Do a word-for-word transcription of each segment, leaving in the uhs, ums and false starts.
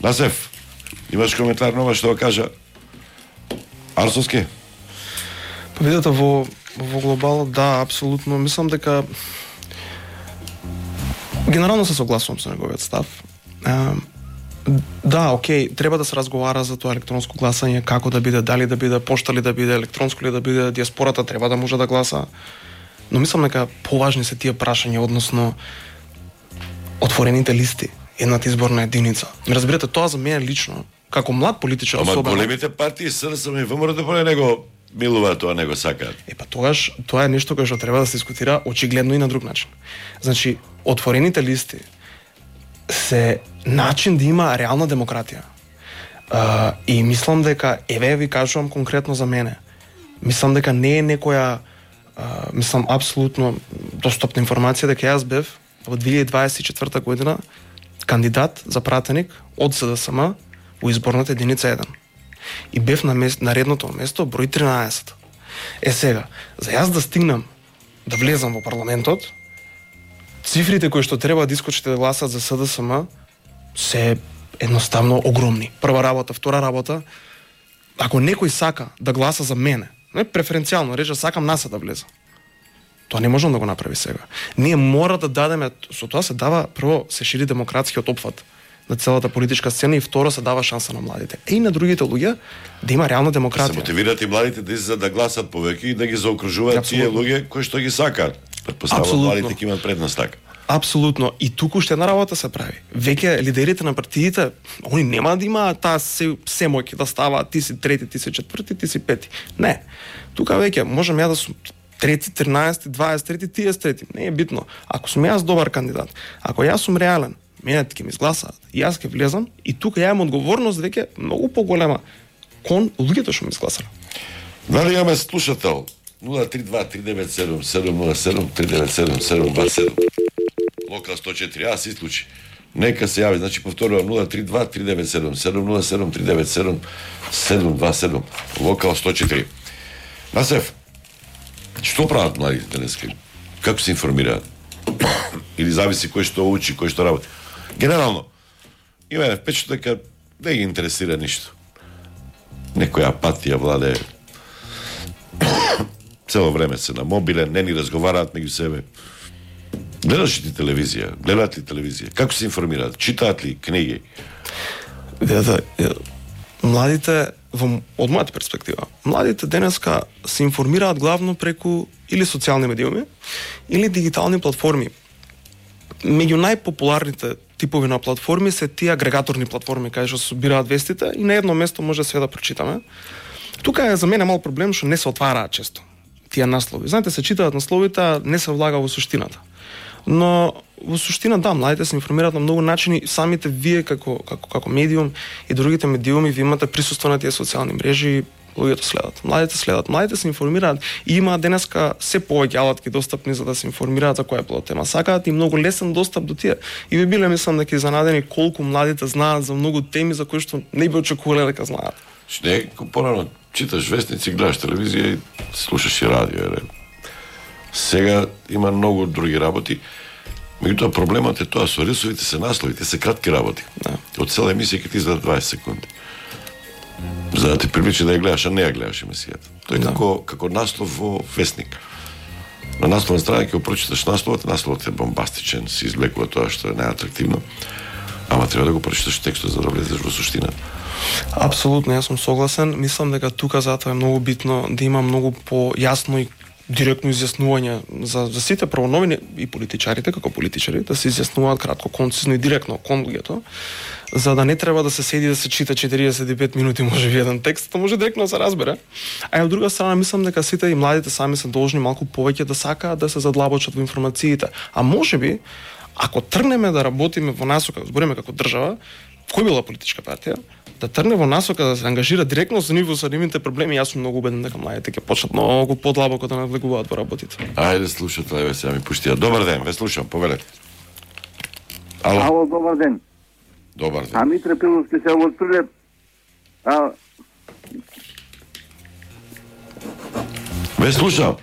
Насев, имаш коментар нова што го кажа Арсовски? Па видете, во, во глобал, да, апсолутно. Мислам дека генерално се согласувам со неговиот став. А, да, окей, треба да се разговара за тоа електронско гласање, како да биде, дали да биде пошта ли да биде, електронско ли да биде, диаспората треба да може да гласа. Но мислам дека поважни се тие прашања, односно отворените листи, едната изборна единица. Разбирате, тоа за мене лично, како млад политичар особено. особено. Ама големите партии СДСМ и ВМРО поне него милуваат тоа, него сакаат. Е па тогаш тоа е нешто кое што треба да се дискутира очигледно и на друг начин. Значи, отворените листи се начин да има реална демократија. Uh, и мислам дека, еве ви кажувам конкретно за мене, мислам дека не е некоја, uh, мислам апсолутно достапна информација дека јас бев во две илјади дваесет и четврта година кандидат за пратеник од СДСМ во изборната единица еден. И бев на, мест, на редното место број тринаесет. Е сега, за јас да стигнам да влезам во парламентот, цифрите кои што треба да искочите да гласат за СДСМ се едноставно огромни. Прва работа, втора работа, ако некој сака да гласа за мене, не преференцијално, рече сакам НАСА да влезе, тоа не можам да го направи сега. Ние мора да дадеме, со тоа се дава, прво се шири демократскиот опфат на целата политичка сцена и второ се дава шанса на младите. Е и на другите луѓе да има реална демократија. Се мотивираат и младите да излезат да гласат повеќе и да ги заокружуваат тие луѓе кои што ги сакаат. Претпоставувам младите ќе имаат предност така. Апсолутно. И туку уште една работа се прави. Веќе лидерите на партиите, они нема да имаат таа се, се моќ да ставаат ти си трети, ти си четврти, ти си пети. Не. Тука веќе можам ја да сум трети, тринаесети, дваесет трети, ти си трети. Не е битно. Ако сум јас добар кандидат, ако јас сум реален, мене ќе ми изгласаат. И јас ќе влезам и тука ја имам одговорност веќе многу поголема кон луѓето што ми изгласале. Дали имаме слушател? нула три два три девет седум седум нула седум три девет седум седум два седум. Локал сто четири, а се исклучи. Нека се јави, значи повторувам нула три два три девет седум седум нула седум три девет седум седум два седум. Локал сто четири. Насев, што прават младите денеска? Како се информираат? Или зависи кој што учи, кој што работи? Генерално, има впечат дека не ги интересира ништо. Некоја апатија владее. Цело време се на мобилен, не ни разговараат меѓу себе. Гледаш ли телевизија? Гледаат ли телевизија? Како се информираат? Читаат ли книги? Да, да, младите, во, од мојата перспектива, младите денеска се информираат главно преку или социјални медиуми, или дигитални платформи. Меѓу најпопуларните типови на платформи се тие агрегаторни платформи, каде што се собираат вестите и на едно место може све да прочитаме. Тука е за мене мал проблем што не се отвараат често тие наслови. Знаете, се читаат насловите, не се влага во суштината. Но во суштина да, младите се информираат на многу начини, самите вие како како како медиум и другите медиуми ви имате присуство на тие социјални мрежи, луѓето следат. Младите следат, младите се информираат и има денеска се повеќе алатки достапни за да се информираат за која било тема. Сакаат и многу лесен достап до тие. И би биле мислам дека изненадени колку младите знаат за многу теми за кои што не би очекувале дека знаат. Не, порано читаш вестници, гледаш телевизија и слушаш и радио, ере. Сега има многу други работи. Меѓутоа проблемот е тоа со рисовите се наслови, те се кратки работи. Да. Од цела емисија ќе ти издаде дваесет секунди. За да те привлече да ја гледаш, а не ја гледаш емисијата. Тоа е да. како како наслов во вестник. На насловна страна ќе го прочиташ насловот, насловот е бомбастичен, се извлекува тоа што е најатрактивно. Ама треба да го прочиташ текстот за да влезеш во суштина. Апсолутно, јас сум согласен. Мислам дека тука затоа е многу битно да има многу појасно и директно изјаснување за, за сите правоновини и политичарите, како политичари, да се изјаснуваат кратко, концизно и директно кон луѓето, за да не треба да се седи да се чита четириесет и пет минути може би еден текст, тоа може директно да се разбере. А од друга страна мислам дека сите и младите сами се должни малку повеќе да сакаат да се задлабочат во информациите. А можеби ако тргнеме да работиме во насока, збориме како држава, кој била политичка партија, да тргне во насока да се ангажира директно со нивото со нивните проблеми, јас сум многу убеден дека младите ќе почнат многу подлабоко да навлегуваат во работите. Ајде слушате, еве сега ми пуштија. Добар ден, ве слушам, повелете. Ало. Ало, добар ден. Добар ден. А Митре Пиловски се од Прилеп. А Ве слушам.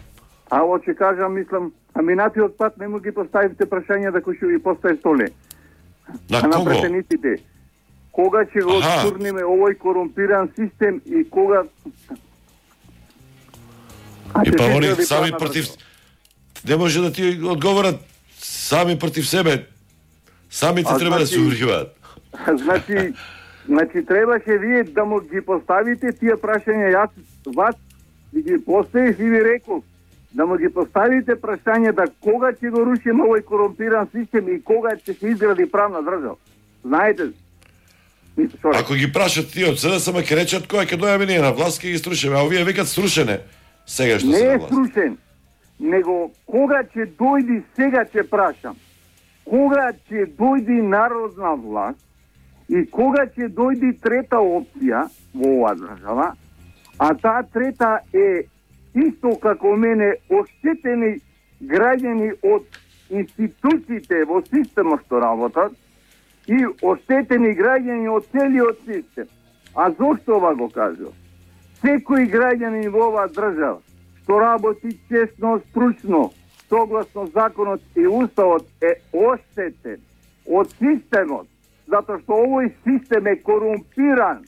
Ало, ќе кажам, мислам, а минатиот пат не му ги поставивте прашања да кој ќе ви постави столе. На а кого? На претениците. кога ќе го Аха. отурниме овој корумпиран систем и кога И па ќе они изгради сами правна против... држава. Не може да ти одговорат сами против себе. Самите А, треба да се значи- уриваат. Значи, значи требаше вие да му ги поставите тие прашања, јас вас ви ги поставив и ви реков да му ги поставите прашањата кога ќе го рушиме овој корумпиран систем и кога ќе се изгради правна држава. Знаете? Мислам, што Ако ги прашат тие од СДСМ, ќе речат кој ќе дојаме ние на власт, ќе ги струшиме, а овие викат струшене. Сега што не се на е власт. струшен, него кога ќе дојди, сега ќе прашам, кога ќе дојди народна власт и кога ќе дојди трета опција во оваа држава, а таа трета е исто како мене оштетени граѓани од институциите во системот што работат и оштетени граѓани од целиот систем. А зошто ова го кажувам? Секој граѓанин во оваа држава што работи честно, стручно, согласно законот и уставот е оштетен од системот, затоа што овој систем е корумпиран,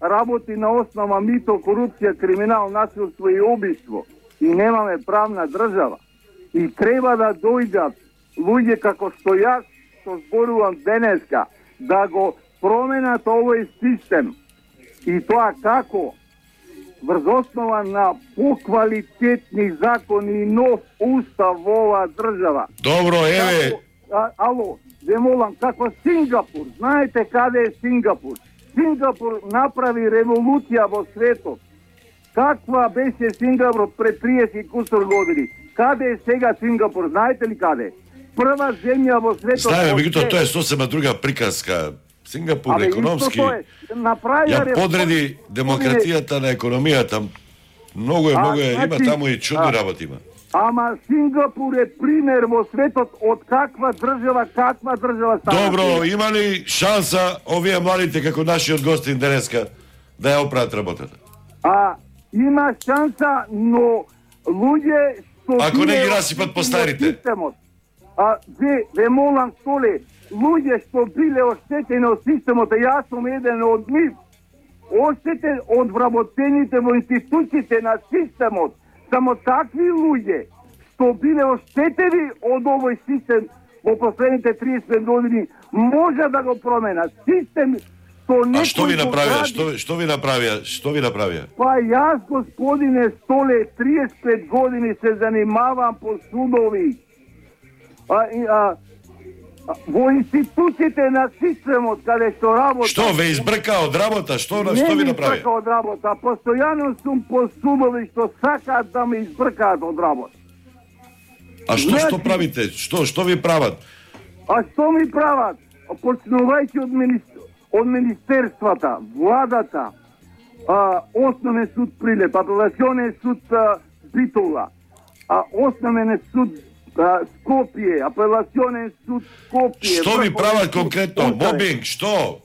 работи на основа мито, корупција, криминал, насилство и убиство и немаме правна држава. И треба да дојдат луѓе како што јас што зборувам денеска да го променат овој систем. И тоа како? Врз основа на поквалитетни закони и нов устав во оваа држава. Добро, еве, Како, а, ало, ве молам, како Сингапур. Знаете каде е Сингапур? Сингапур направи револуција во светот. Каква беше Сингапур пред триесет и кусор години? Каде е сега Сингапур? Знаете ли каде? Прва земја во светот. знаеме, од меѓутоа се- тоа е сосема друга приказка. Сингапур Абе, економски исто тоа е. Направија ја реформи. подреди демократијата на економијата. Многу е, А, многу е, има значи, таму и чудни а, работи има. Ама Сингапур е пример во светот од каква држава, каква држава стана. Добро, има ли шанса овие младите како нашиот гостин денеска да ја оправат работата? А има шанса, но луѓе што Ако не биле ги расипат по старите. од системот. А ве ве молам Толе, луѓе што биле оштетени од системот, а јас сум еден од нив. Оштетен од вработените во институциите на системот. Само такви луѓе што биле оштетени од овој систем во последните триесет години може да го променат. Систем што А што ви некој го направија? гради. Што, што ви направија? Што ви направија? Па јас, господине Столе, триесет и пет години се занимавам по судови. А, и, а, а, во институциите на системот каде што работам. Што ве избрка од работа? Што, Не што ви ми направија? избрка од работа, постојано сум по судови што сакаат да ме избркаат од работа. А што што Значи- правите? Што што ви прават? А што ми прават? Почнувајќи од, министр... од министерствата, владата, а, Основен суд Прилеп, Апелационен суд а, Битола, а, Основен суд а, Скопје, Апелационен суд Скопје. Што ви Врховен прават суд конкретно? Утре. Мобинг, што?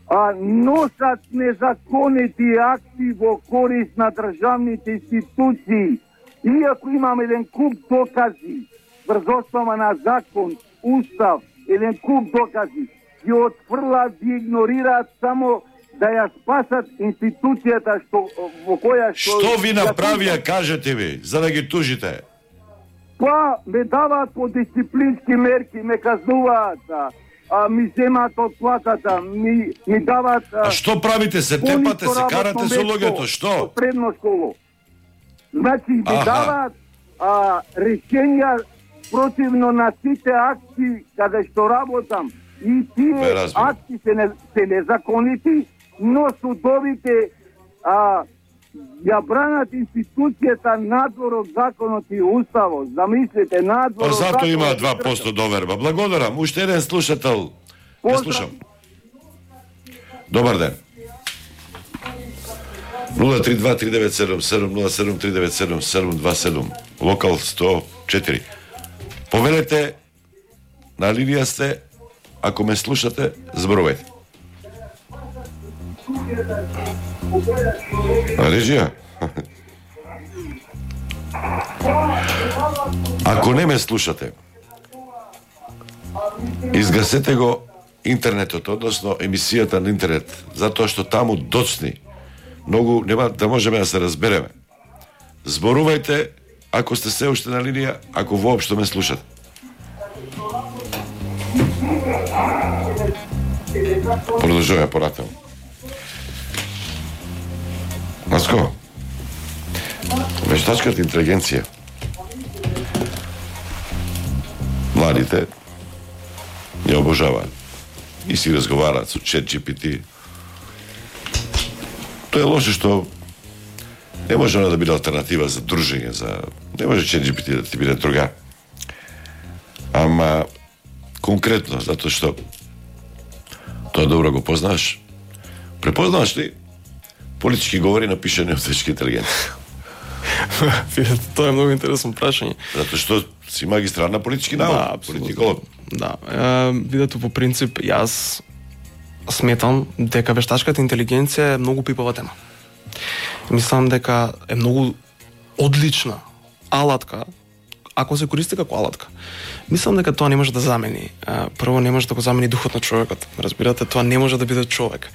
А, носат незаконити акти во корист на државните институции. Иако имам еден куп докази, врз основа на закон, устав, еден куп докази, ги отфрлаат, ги игнорираат само да ја спасат институцијата што во која што... Што ви ја направија, тужат. кажете ви, за да ги тужите? Па, ме даваат по дисциплински мерки, ме казнуваат, а, а, ми земаат од платата, ми, ми даваат... А што правите? Се тепате, се карате со луѓето, што? Од средно школо. Значи, ми Аха. даваат а, решенја противно на сите акти каде што работам. И Бе, тие разбирам. акти се, не, се незаконити, но судовите а, ја бранат институцијата надвор од законот и уставот. Замислите, надвор Па од зато законот има и два процента доверба. Благодарам. Уште еден слушател. Ја Поздрав. слушам. Добар ден. нула три два три девет седум седум нула седум три девет седум седум два седум. Локал сто четири. Повелете, на линија сте, ако ме слушате, зборувајте. А режија? Ако не ме слушате, изгасете го интернетот, односно емисијата на интернет, затоа што таму доцни многу нема да можеме да се разбереме. Зборувајте ако сте се уште на линија, ако воопшто ме слушате. Продолжуваме понатаму. Наско, вештачката интелигенција. Младите ја обожаваат и си разговараат со Чет Джи Пи Ти. Тоа е лошо што не може она да биде алтернатива за дружење, за не може Чет Джи Пи Ти да ти биде другар. Ама конкретно, затоа што тоа добро го познаш. Препознаваш ли политички говори напишани од вештачка интелигенција? Тоа е многу интересно прашање. Затоа што си магистар на политички науки, да, политиколог. Да, е, видете по принцип, јас сметам дека вештачката интелигенција е многу пипава тема. Мислам дека е многу одлична алатка, ако се користи како алатка. Мислам дека тоа не може да замени. Прво, не може да го замени духот на човекот. Разбирате, тоа не може да биде човек.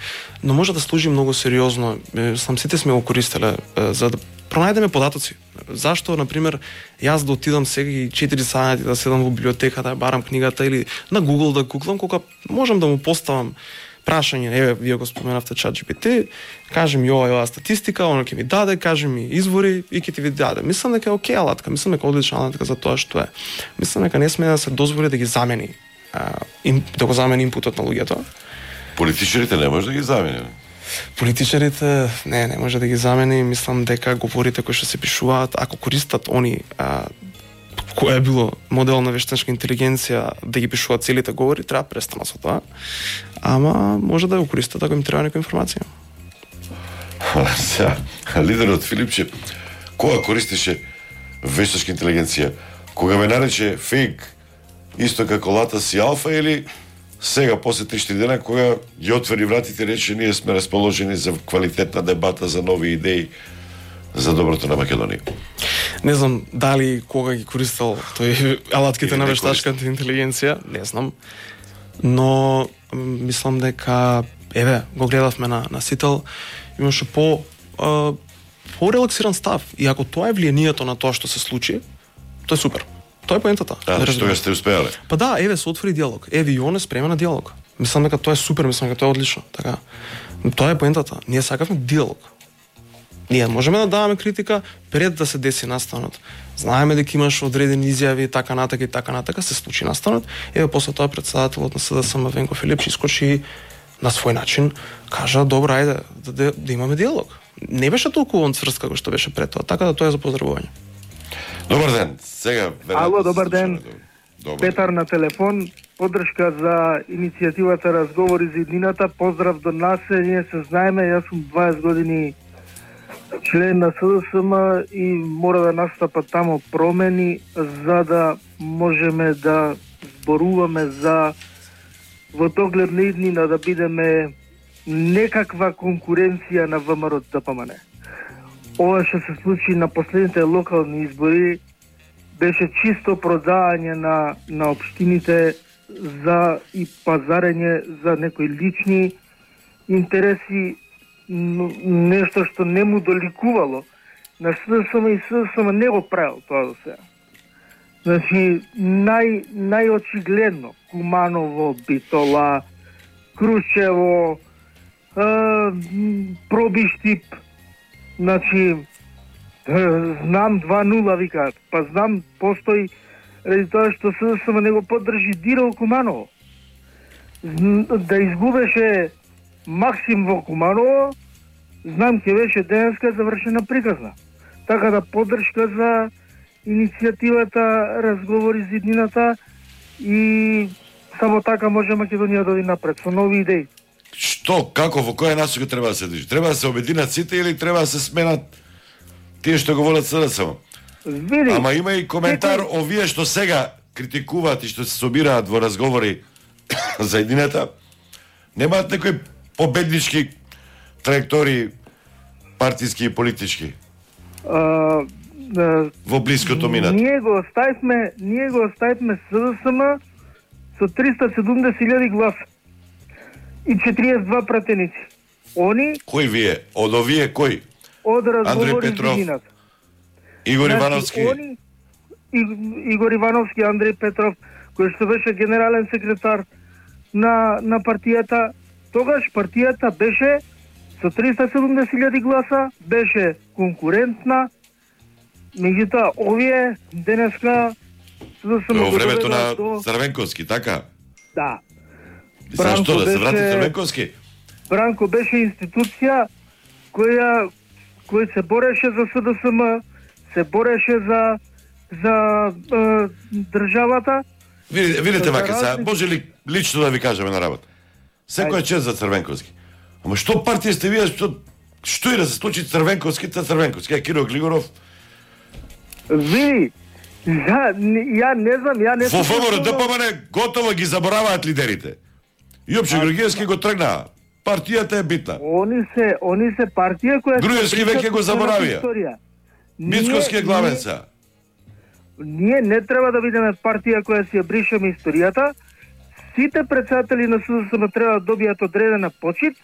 Но може да служи многу сериозно. Сам сите сме го користеле за да пронајдеме податоци. Зашто, например, јас да отидам сега и четири сати да седам во библиотека, да барам книгата или на Google да гуглам, кога можам да му поставам прашање, еве, вие го споменавте Чат Джи Пи Ти, кажем ја ова статистика, оно ќе ми даде, кажем ми извори и ќе ти ви даде. Мислам дека е окей алатка, мислам дека е одлична алатка за тоа што е. Мислам дека не сме да се дозволи да ги замени, а, им, да го замени импутот на луѓето. Политичарите не може да ги замени. Политичарите не, не може да ги замени. Мислам дека говорите кои што се пишуваат, ако користат они а, кој е било модел на вештачка интелигенција да ги пишуваат целите говори, треба престанат со тоа. Ама може да го користат ако им треба некоја информација. Сега, лидерот Филипче, кога користеше вештачка интелигенција? Кога ве нарече фейк, исто како Латас и Алфа, или сега, после три-четири дена, кога ги отвори вратите и рече ние сме расположени за квалитетна дебата, за нови идеи, за доброто на Македонија? Не знам дали кога ги користел тој алатките на вештачката интелигенција, не знам. Но мислам дека еве го гледавме на на Сител, имаше по а, по-релаксиран став. И ако тоа е влијанието на тоа што се случи, тоа е супер. Тоа е поентата. Да, што ја сте успеале. Па да, еве се отвори диалог. Еве и он е спремен на диалог. Мислам дека тоа е супер, мислам дека тоа е одлично, така. Но тоа е поентата. Ние сакавме диалог. Ние можеме да даваме критика пред да се деси настанот. Знаеме дека имаш одредени изјави, така натака и така натака, се случи настанот. Еве после тоа председателот на С Д С М Венко Филипче искочи на свој начин, кажа добро, ајде да, да, да имаме диалог. Не беше толку он цврст како што беше пред тоа, така да тоа е за поздравување. Добар ден. Сега Ало, добар ден. Добар. Петар на телефон. Подршка за иницијативата Разговори за иднината. Поздрав до нас. Ние се знаеме, јас сум дваесет години член на С Д С М и мора да настапат тамо промени за да можеме да зборуваме за во доглед на иднина да бидеме некаква конкуренција на В М Р Д П М Н. Ова што се случи на последните локални избори беше чисто продавање на на општините за и пазарење за некои лични интереси, нешто што не му доликувало на С Д С М и С Д С М не го правил тоа до сега. Значи, нај, најочигледно Куманово, Битола, Крушево, Пробиштип, значи, знам два нула викаат, па знам постои ради тоа што С Д С М не го поддржи Дирал Куманово. Да изгубеше Максим во Куманово, знам ќе беше денеска завршена приказна. Така да поддршка за иницијативата Разговори за иднината и само така може Македонија да оди напред со нови идеи. Што, како, во која насока треба да се движи? Треба да се обединат сите или треба да се сменат тие што го волат С Д С М? Види, Ама има и коментар некој... овие што сега критикуваат и што се собираат во разговори за едината, немаат некои победнички траектории партиски и политички А, а, во блиското минат. Ние го оставивме, ние го оставивме С Д С М со триста и седумдесет илјади гласа. и четириесет и два пратеници. Они Кој вие? Од овие кој? од Андрей разговори Петров, за иднината. Игор Значи, Ивановски. Они, И- Игор Ивановски, Андрей Петров, кој што беше генерален секретар на, на партијата, тогаш партијата беше со триста и седумдесет илјади гласа, беше конкурентна, меѓутоа овие денеска за да се Во времето на доведат до... Црвенковски, така? Да. И сега што, да се врати беше- Црвенковски? Бранко беше институција која кој се бореше за С Д С М, се бореше за за е, државата. Видите, видите За вака, сега, разлика- може ли лично да ви кажеме на работа? Секој е чест за Црвенковски. Ама што партија сте вие, што, што и да се случи Црвенковски, та Црвенковски, а Киро Глигоров? Види, ја, ја не знам, ја не Во сум ВМРО почнал- Д П М Н готово ги забораваат лидерите. Јопче Георгиевски го тргнаа. Партијата е битна. Они се, они се партија која се Груевски прича веќе го со својата заборавија. историја. Мицковски е Ние- главен ние- сега. Ние не треба да бидеме партија која си ја бришеме историјата. Сите председатели на С Д С М треба да добијат одредена почит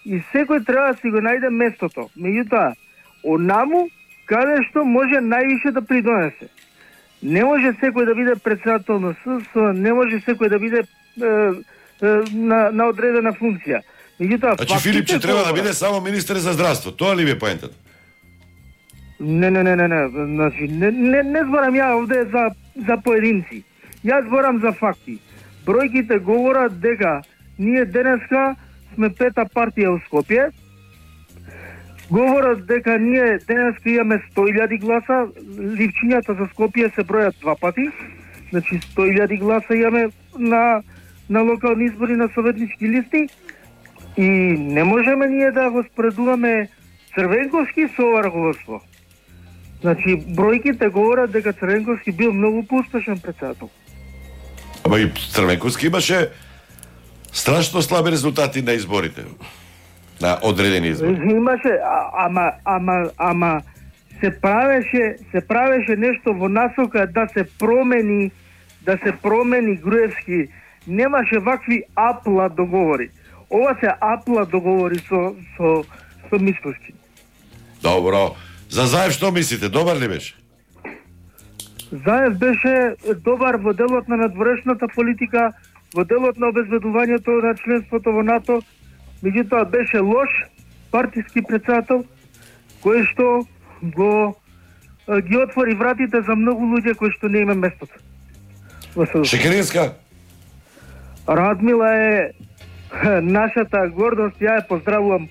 и секој треба да си го најде местото. Меѓутоа, онаму каде што може највише да придонесе. Не може секој да биде председател на С Д С М, не може секој да биде е, е, на, на одредена функција. Меѓутоа, Значи фактите Филипче треба да говорат. биде само министер за здравство. Тоа ли ви е поентата? Не, не, не, не, не, значи, не, не, не зборам ја овде за, за поединци. Јас зборам за факти. Бројките говорат дека ние денеска сме пета партија у Скопје. Говорат дека ние денеска имаме сто илјади гласа, ливчињата за Скопје се бројат два пати. Значи сто илјади гласа имаме на, на локални избори на советнички листи. И не можеме ние да го споредуваме Црвенковски со ова раководство. Значи, бројките говорат дека Црвенковски бил многу поуспешен председател. Ама и Црвенковски имаше страшно слаби резултати на изборите. На одредени избори. Имаше, а- ама, ама, ама, се правеше, се правеше нешто во насока да се промени, да се промени Груевски. Немаше вакви апла договори. Ова се апла договори со, со, со Мицковски. Добро. За Заев што мислите? Добар ли беше? Заев беше добар во делот на надворешната политика, во делот на обезбедувањето на членството во НАТО, меѓутоа беше лош партиски председател, кој што го а, ги отвори вратите за многу луѓе кои што не има местото. Во С Д С М. Шекеринска? Радмила е нашата гордост, ја ја поздравувам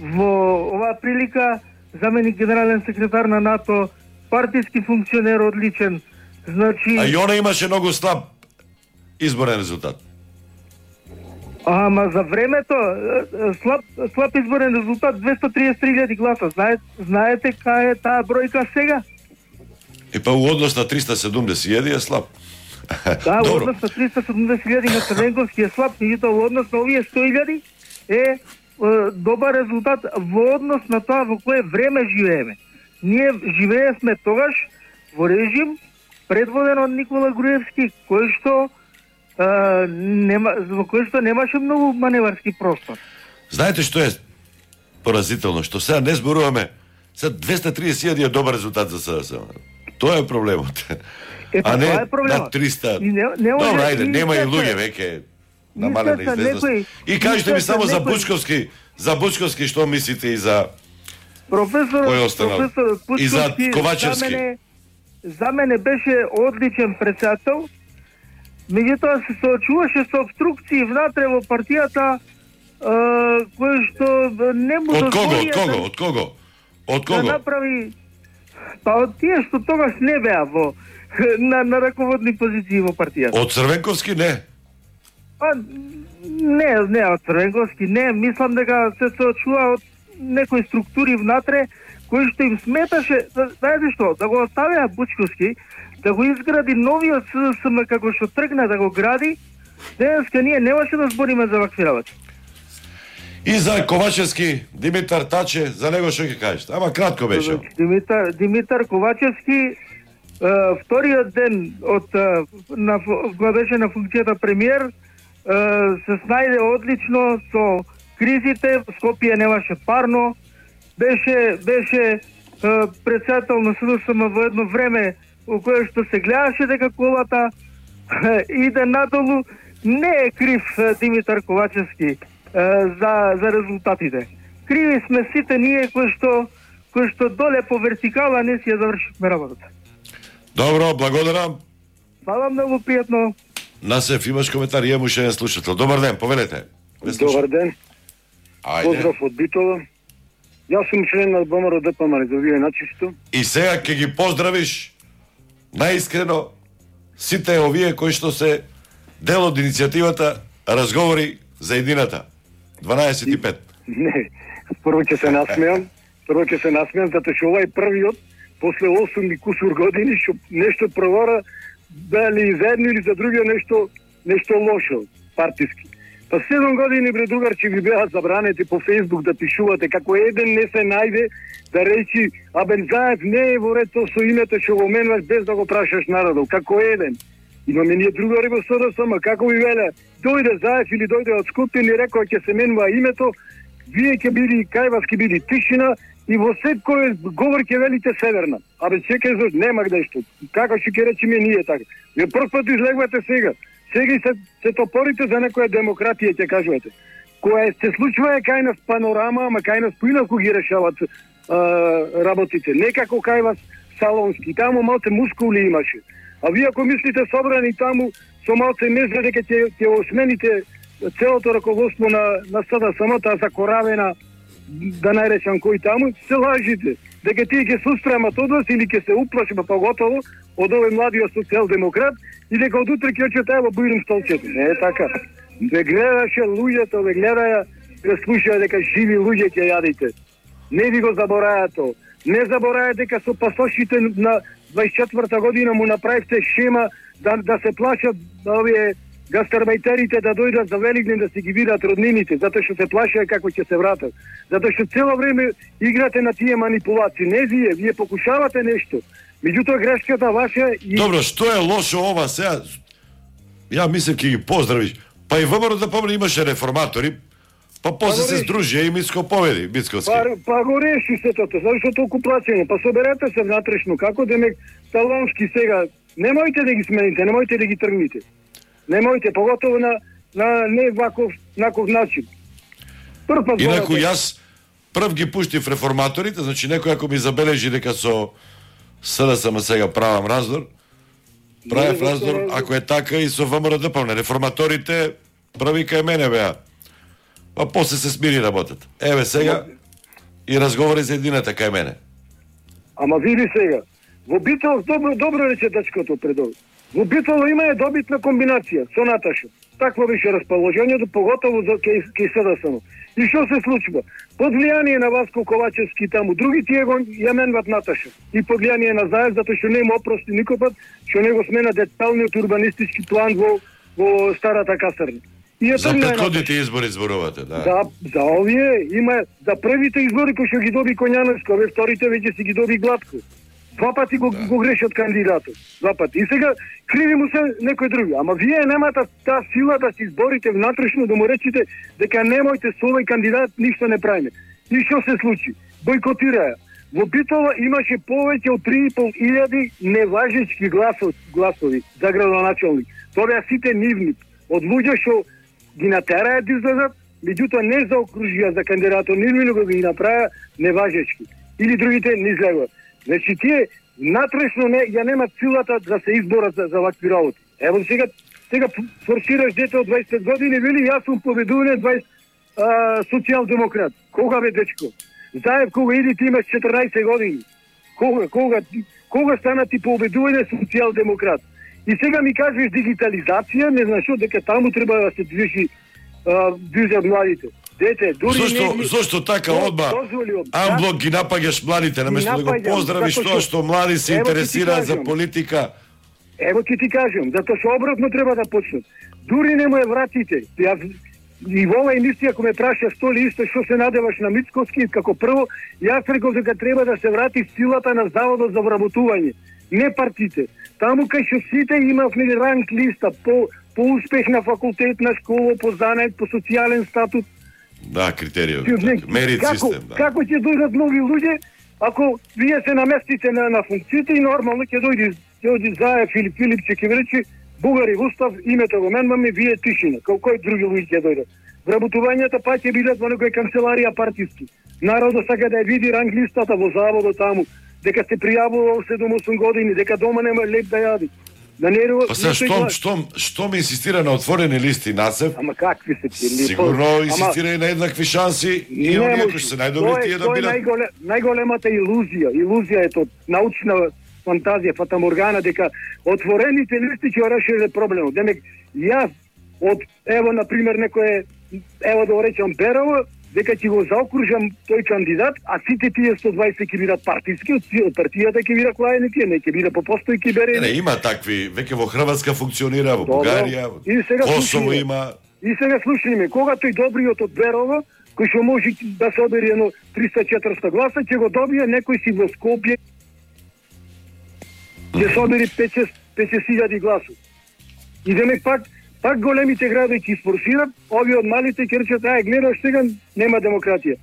во оваа прилика, заменик генерален секретар на НАТО, партиски функционер одличен. Значи, А и она имаше многу слаб изборен резултат. ама за времето е, е, слаб слаб изборен резултат двесто триесет и три илјади гласа. Знаете, знаете кај е таа бројка сега? И па у однос на триста и седумдесет илјади е слаб. Да, во Добро. однос на триста и седумдесет илјади на Црвенковски е слаб, меѓутоа во однос на овие сто илјади е, е добар резултат во однос на тоа во кое време живееме. Ние живеевме тогаш во режим предводен од Никола Груевски, кој што е, нема, во кој што немаше многу маневарски простор. Знаете што е поразително? Што сега не зборуваме, сега двесте и триесет илјади е добар резултат за С Д С М. Тоа е проблемот. Ето, А не тоа е проблемот. над триста. И не, не може, Добро, ајде, и нема и се- луѓе веќе намалена се известност. некој- И кажете ми и се само за некој- Бучковски, за Бучковски што мислите и за Професор, Кој е останал? професор И за Пучковски Ковачевски? За мене, за мене беше одличен председател, меѓутоа се соочуваше со обструкции внатре во партијата, е, кои што не му од кого, дозволија од кого, да- од кого? Од да кого? направи, па од тие што тогаш не беа во на, на раководни позиции во партијата. Од Црвенковски не. Па, не, не, од Црвенковски не, мислам дека се соочува од некои структури внатре кои што им сметаше, да- знаете што, да го оставеа Бучковски, да го изгради новиот С Д С М како што тргна да го гради, денеска ние немаше да збориме за вакви работи. И за Ковачевски, Димитар Таче, за него што ќе кажете? Ама кратко беше. Димитар, Димитар Ковачевски, е, вториот ден од е, на фу- кога беше на функцијата премиер, се снајде одлично со кризите, Скопје немаше парно, беше беше председател на СДСМ во едно време во кое што се гледаше дека колата иде надолу. Не е крив Димитар Ковачевски за за резултатите. Криви сме сите ние кои што кои што доле по вертикала не си ја завршивме работата. Добро, благодарам. Фала многу пријатно. Насев, имаш коментар, имам уште еден слушател. Добар ден, повелете. Добар ден. Ајде. Поздрав од Битола. Јас сум член на ВМРО ДПМН, за вие начисто. И сега ќе ги поздравиш наискрено сите овие кои што се дел од иницијативата Разговори за едината. дванаесет и пет. Не, прво ќе се насмеам, прво ќе се насмеам, затоа што овај првиот, после осум и кусур години, што нешто провара, дали за едно или за другиот нешто, нешто лошо, партиски. Па седум години, бре другарче, ви беа забранети по Фејсбук да пишувате, како еден не се најде да речи, абе Заев не е во ред со името што го менуваш без да го прашаш народот, како еден. Имаме ние другари во СДСМ, како ви веле, дојде Заев или дојде од Скопје или рекоа ќе се менува името, вие ќе биде, кај вас ќе биде тишина и во секој говор ќе велите Северна. Абе чекај, зашто нема каде што. Како ќе ќе речеме ние така? Вие прв пат излегувате сега. Сега и се, се топорите за некоја демократија, ќе кажувате. Која се случува е кај нас панорама, ама кај нас поинаку ги решават а, работите. Не како кај вас салонски. Таму малце мускули имаше. А вие ако мислите собрани таму со малце меза дека ќе ќе осмените целото раководство на на СДСМ, таа закоравена, да најречам кој таму, се лажите. Дека тие ќе се устремат од вас или ќе се уплашат поготово од овој младиот социјалдемократ и дека од утре ќе очете ево бујрум столчето. Не е така. Ве гледаше луѓето, ве гледаја, ве слушаја дека живи луѓе ќе јадите. Не ви го заборајате. Не заборајате дека со пасошите на дваесет и четврта година му направивте шема да да се плашат овие гастарбајтерите да дојдат за Великден да си ги видат роднините, затоа што се плашеа како ќе се вратат. Затоа што цело време играте на тие манипулации. Не вие, вие покушавате нешто. Меѓутоа грешката ваша и... Добро, што е лошо ова сега? Ја мислам ќе ги поздравиш. Па и ВМРО да помни имаше реформатори, па после па се здружија и Мицко победи, Мицковски. Па, па го реши се тоа, зашто толку плаќање? Па соберете се внатрешно, како демек Талонски сега, немојте да ги смените, немојте да ги тргните. Немојте, поготово на, на не ваков, наков начин. Прв пат Инаку јас прв ги пуштив реформаторите, значи некој ако ми забележи дека со СДСМ сега правам раздор, правев раздор, ако е така и со ВМРО ДПМН. Реформаторите први кај мене беа. Па после се смири работата. Еве сега и разговори за едината кај мене. Ама види сега, во Битол, добро, добро рече дачкото предово. Во Битол има е добитна комбинација со Наташа. Такво беше расположението, поготово за кај СДСМ. И што се случува? Под влијание на Васко Ковачевски таму, други тие го ја менват Наташа. И под влијание на Заев, затоа што не им опрости никој пат, што не го смена деталниот урбанистички план во, во старата касарна. И за претходните избори зборувате, да. За, за овие има, за првите избори кои што ги доби Коњановски, овие вторите веќе си ги доби Гладко. Два пати го, да. го грешат кандидатот. Два пати. И сега криви му се некој други. Ама вие немате таа сила да се изборите внатрешно, да му речите дека немојте со овој кандидат ништо не правиме. И што се случи? Бойкотираја. Во Битола имаше повеќе од три и пол илјади неважечки гласови, гласови за градоначалник. Тоа беа сите нивни. Од луѓе што ги натераја да излезат, меѓутоа не заокружија за кандидатот нивни, него ги направија неважечки. Или другите не излегуваат. Значи тие натрешно не ја немат силата да се изборат за, за вакви работи. Ево сега сега форсираш дете од дваесет години, вели јас сум победуване дваесет а, социјалдемократ. Кога бе дечко? Заев кога иди ти имаш четрнаесет години. Кога кога кога стана ти победуване социјалдемократ? И сега ми кажеш дигитализација, не знам што дека таму треба да се движи движат младите. Дете, дури зошто, не... зошто така одма амблок ги напаѓаш младите, наместо да го поздравиш тоа што млади се интересираат за политика? Ево ќе ти кажам, затоа што обратно треба да почнат. Дури не му е вратите. Јас и во оваа емисија ако ме праша што ли исто што се надеваш на Мицковски, како прво, јас реков дека треба да се врати силата на Заводот за вработување, не партите. Таму кај што сите имавме ранг листа по по успех на факултет, на школа, по занет, по социјален статус. Да, критериуми. Мерит како, систем, да. Како ќе дојдат нови луѓе ако вие се наместите на, на функциите и нормално ќе дојде ќе дојде Заев или Филипче ќе рече бугари устав, името го менмаме, вие тишина. Како кој други луѓе ќе дојдат. Вработувањата па ќе бидат во некоја канцеларија партиски. Народот сака да ја види ранглистата во заводот таму, дека се пријавува седум-осум години, дека дома нема леп да јади. Да не Па се штом штом штом инсистира на отворени листи Насев. Ама какви се ти? Сигурно инсистира и на еднакви шанси и оние кои се најдобри тие да бидат. Најголем, најголемата илузија, илузија е тоа научна фантазија, фатаморгана дека отворените листи ќе решиле проблемот. Демек јас од ево на пример некој ево да го речам Берово, дека ќе го заокружам тој кандидат, а сите тие сто дваесет ќе бидат партиски, од партијата ќе биде клаени тие, не ќе биде по постојки берени. Не, има такви, веќе во Хрватска функционира, во Бугарија, Косово има. И сега слушајме, кога тој добриот од Берово, кој што може да се одбери едно триста-четириста гласа, ќе го добие некој си во Скопје, ќе се одбери пет-шест илјади гласови. И демек пак пак големите градови ќе испорсират, овие од малите ќе речат, ај, гледаш сега, нема демократија.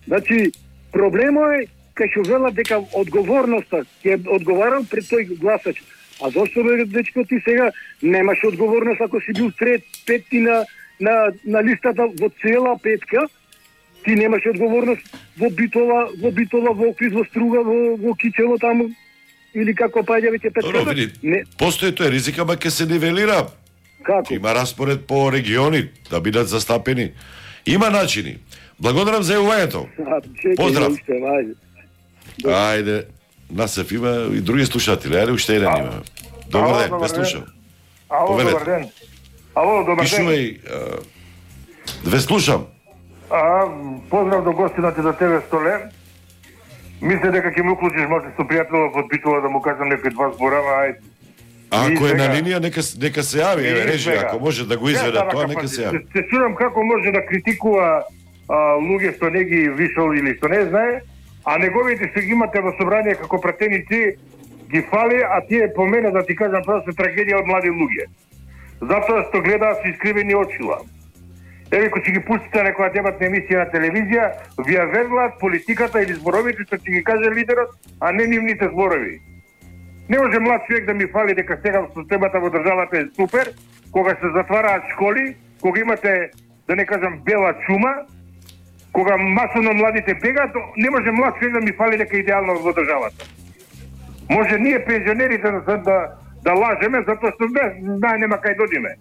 Значи, проблемот е, кај што велат дека одговорноста ќе одговарал пред тој гласач. А зошто, бе, дечко, ти сега немаш одговорност ако си бил трет, петти на, на, на листата во цела петка, ти немаш одговорност во Битола, во Битола, во Охрид, во Струга, во, во Кичево таму, или како паѓа веќе пет. Добро, види, постои тој ризик, ама ќе се нивелира. Како? Има распоред по региони да бидат застапени. Има начини. Благодарам за јавувањето. Поздрав. Ајде, Насев има и други слушатели. Ајде, уште еден има. Добар ден, ве слушам. Ало, добар ден. Ало, добар ден. Пишувај, ве слушам. А, поздрав до гостината за тебе, Столе. Мисле дека ќе ме уклучиш може со пријателот од Битола да му кажам некои два збора, ајде. А ако е на линија, нека, нека се јави, еве, режи, ако може да го изведе тоа, нека се јави. Се чудам како може да критикува а, луѓе што не ги вишол или што не знае, а неговите што ги имате во собрание како пратеници ги фали, а тие по мене, да ти кажам, просто трагедија од млади луѓе. Затоа што гледаат со искривени очила. Еве, кога ќе ги пуштите некоја дебатна емисија на телевизија, ви ја веруваат политиката или зборовите што ќе ги каже лидерот, а не нивните зборови. Не може млад човек да ми фали дека сега системата во државата е супер, кога се затвараат школи, кога имате, да не кажам, бела чума, кога масово младите бегаат, не може млад човек да ми фали дека е идеално во државата. Може ние пензионерите да, да, да лажеме, затоа што знае нема кај додиме.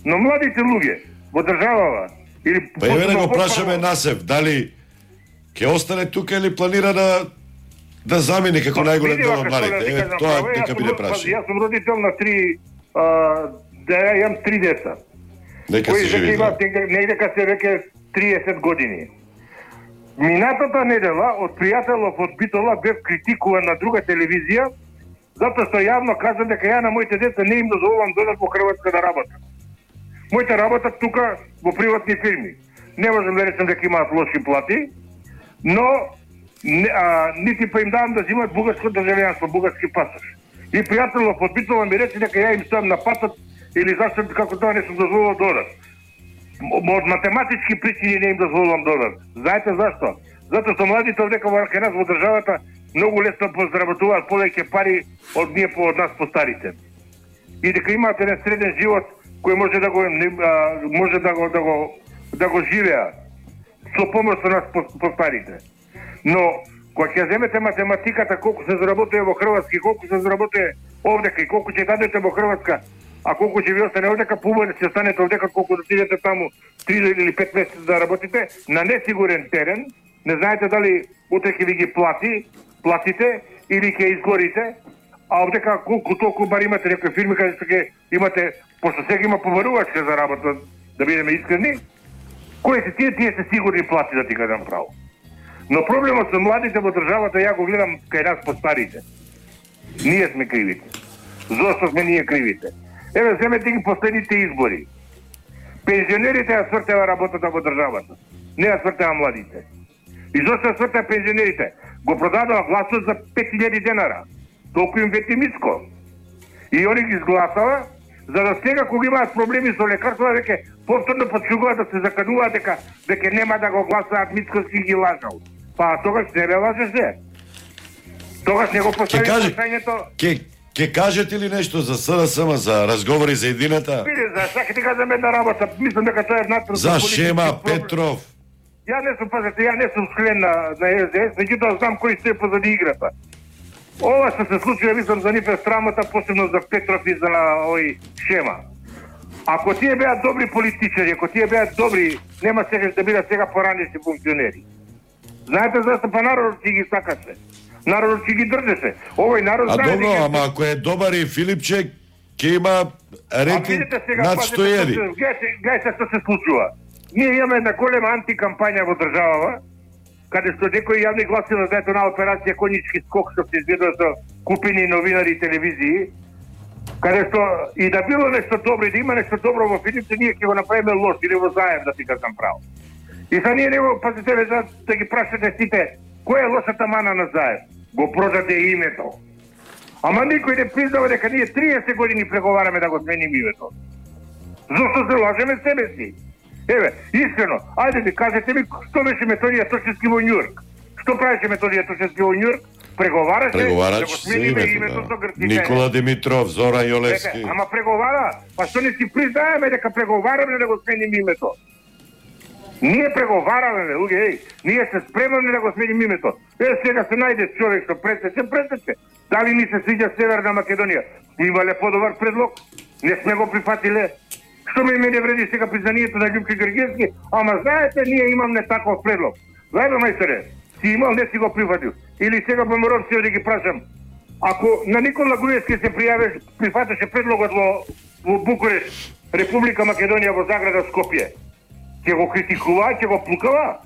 Но младите луѓе во државава или па еве да го прашаме Насев, дали ќе остане тука или планира да да замени како најголем дел од младите. Еве тоа дека биде прашање. Јас сум родител на три да имам три деца. Нека се живи. Негде ка се веќе триесет години. Минатата недела од пријателов од Битола бев критикуван на друга телевизија затоа што јавно кажам дека ја на моите деца не им дозволувам додат во Хрватска да работат. Моите работат тука во приватни фирми. Не можам да речам дека имаат лоши плати, но не, а, нити па им давам да взимат бугарско државјанство, бугарски пасош. И пријателот од Битола ми рече дека ја им ставам на патот или зашто како тоа не сум дозволувал додат. Од математички причини не им дозволувам додат. Знаете зашто? Затоа што младите овдека во нас во државата многу лесно позаработуваат повеќе пари од ние по од нас постарите. И дека имаат еден среден живот кој може да го а, може да го да го да го живеа со помош со нас постарите. Но кога ќе земете математиката колку се заработува во Хрватска и колку се заработува овдека и колку ќе дадете во Хрватска, а колку ќе ви остане овдека, побојно ќе останете овдека колку да отидете таму три или пет месеци да работите на несигурен терен, не знаете дали утре ќе ви ги плати, платите или ќе изгорите, а овдека колку толку бар имате некои фирми каде што ќе имате, пошто сега има побарувачка за работа, да бидеме искрени, кои се тие, тие се сигурни плати, да ти кажам право. Но проблемот со младите во државата, ја го гледам кај нас по старите. Ние сме кривите. Зошто сме ние кривите? Еве, земете ги последните избори. Пензионерите ја свртева работата во државата. Не ја свртева младите. И зошто ја свртева пензионерите? Го продадува гласот за пет илјади денара. Толку им вети миско. И они ги изгласава, За да сега кога имаат проблеми со лекарства, веќе повторно почнуваат да се закануваат дека дека нема да го гласаат, Мицкоски ги лажал. Па тогаш не бе лажеше. Тогаш не го постави прашањето. Ке ке кажете ли нешто за СДСМ, за разговори за едината? Биде, за сака ти кажам една работа, мислам дека тоа е внатрешно. За Шема Петров. Ја не сум, пазете, ја не сум член на, на Ес Де Ес, меѓутоа знам кој стои позади играта. Ова што се случува, мислам, за нив е срамота, посебно за Петров и за овој Шема. Ако тие беа добри политичари, ако тие беа добри, нема сега да бидат сега поранешни функционери. Знаете зашто? Па народот си ги сакаше. Народот си ги држеше. Овој народ А знае... добро, ама ако е добар и Филипче, ќе има рейтинг над сто еден. Гајте што се случува. Ние имаме една голема антикампања во државава, каде што некои јавни гласила за ето на операција Конјички скок што се изведува со купени новинари и телевизии, каде што и да било нешто добро и да има нешто добро во Филипче, ние ќе го направиме лош или во заем, да ти кажам право. И са ние него, пазите ве, да ги прашате сите, која е лошата мана на заем? Го продаде името. Ама никој не признава дека ние триесет години преговараме да го сменим името. Зошто се лажеме себе си? Еве, искрено, ајде ми кажете ми што беше Методија Тошевски во Њујорк. Што правеше Методија Тошевски во Њујорк? Преговараше Преговараш да го се смениме името, името да. со грците. Никола Димитров, Зоран Јолевски. Ама преговара, па што не си признаеме дека преговараме да го сменим името? Ние преговараме, луѓе, еј, ние се спремаме да го сменим името. Е, сега се најде човек што пресече, пресече. Дали ни се свиѓа Северна Македонија? Имале подобар предлог? Не сме го прифатиле. Што ме не вреди сега признанието на Љупки Гргевски? Ама знаете, ние имаме таков предлог. Знаете, мајсторе, си имал, не си го прифатил. Или сега поморам се да ги прашам. Ако на Никола Груевски се пријавиш, прифатеше предлогот во, во Букуреш, Република Македонија во Заграда, Скопје, ќе го критикува, ќе го плукава?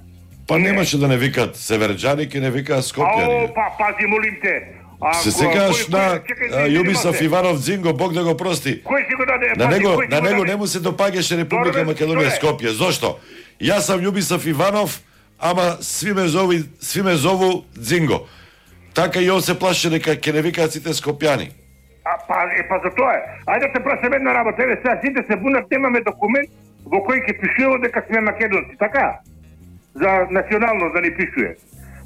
Па немаше да не викат северџани, ќе не викаат скопјани. Ао, па пази, молим те. А, Се секаш на Јубисов Иванов Дзинго, Бог да го прости. Кој си го даде? На Пази, него, кој си на го него даде? не му се допаѓаше Република Добре, Македонија добре. Скопје. Зошто? Јас сам Јубисов Иванов, ама сви ме зову, сви ме зову Дзинго. Така и он се плаше дека ќе не викаат сите скопјани. А, па, е, па за тоа е. Ајде те прашам една работа. Еве сега сите се бунат, немаме документ во кој ќе пишува дека сме македонци, така? За национално да ни пишува.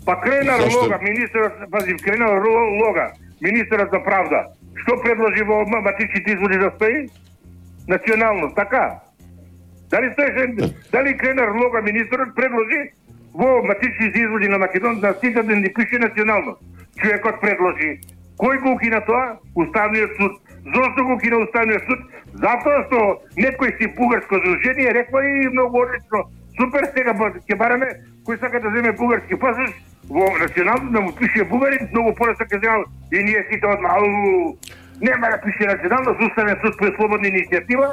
Па Кренар Зашто? Лога, министерот, пази, Кренар Лога, министерот за правда, што предложи во матичните изводи да стои? Национално, така? Дали стоеше, дали Кренар Лога, министерот, предложи во матичните изводи на Македон на сите да ни пише национално? Човекот предложи. Кој го укина тоа? Уставниот суд. Зошто го укина Уставниот суд? Затоа што некој си бугарско здружение рекла и многу одлично. Супер, сега ќе бараме кој сака да земе бугарски пасош во национално да му пише бугарин, многу полесно ќе земе и ние сите одма. Ау, нема да пише национално, со Уставен суд по слободна иницијатива.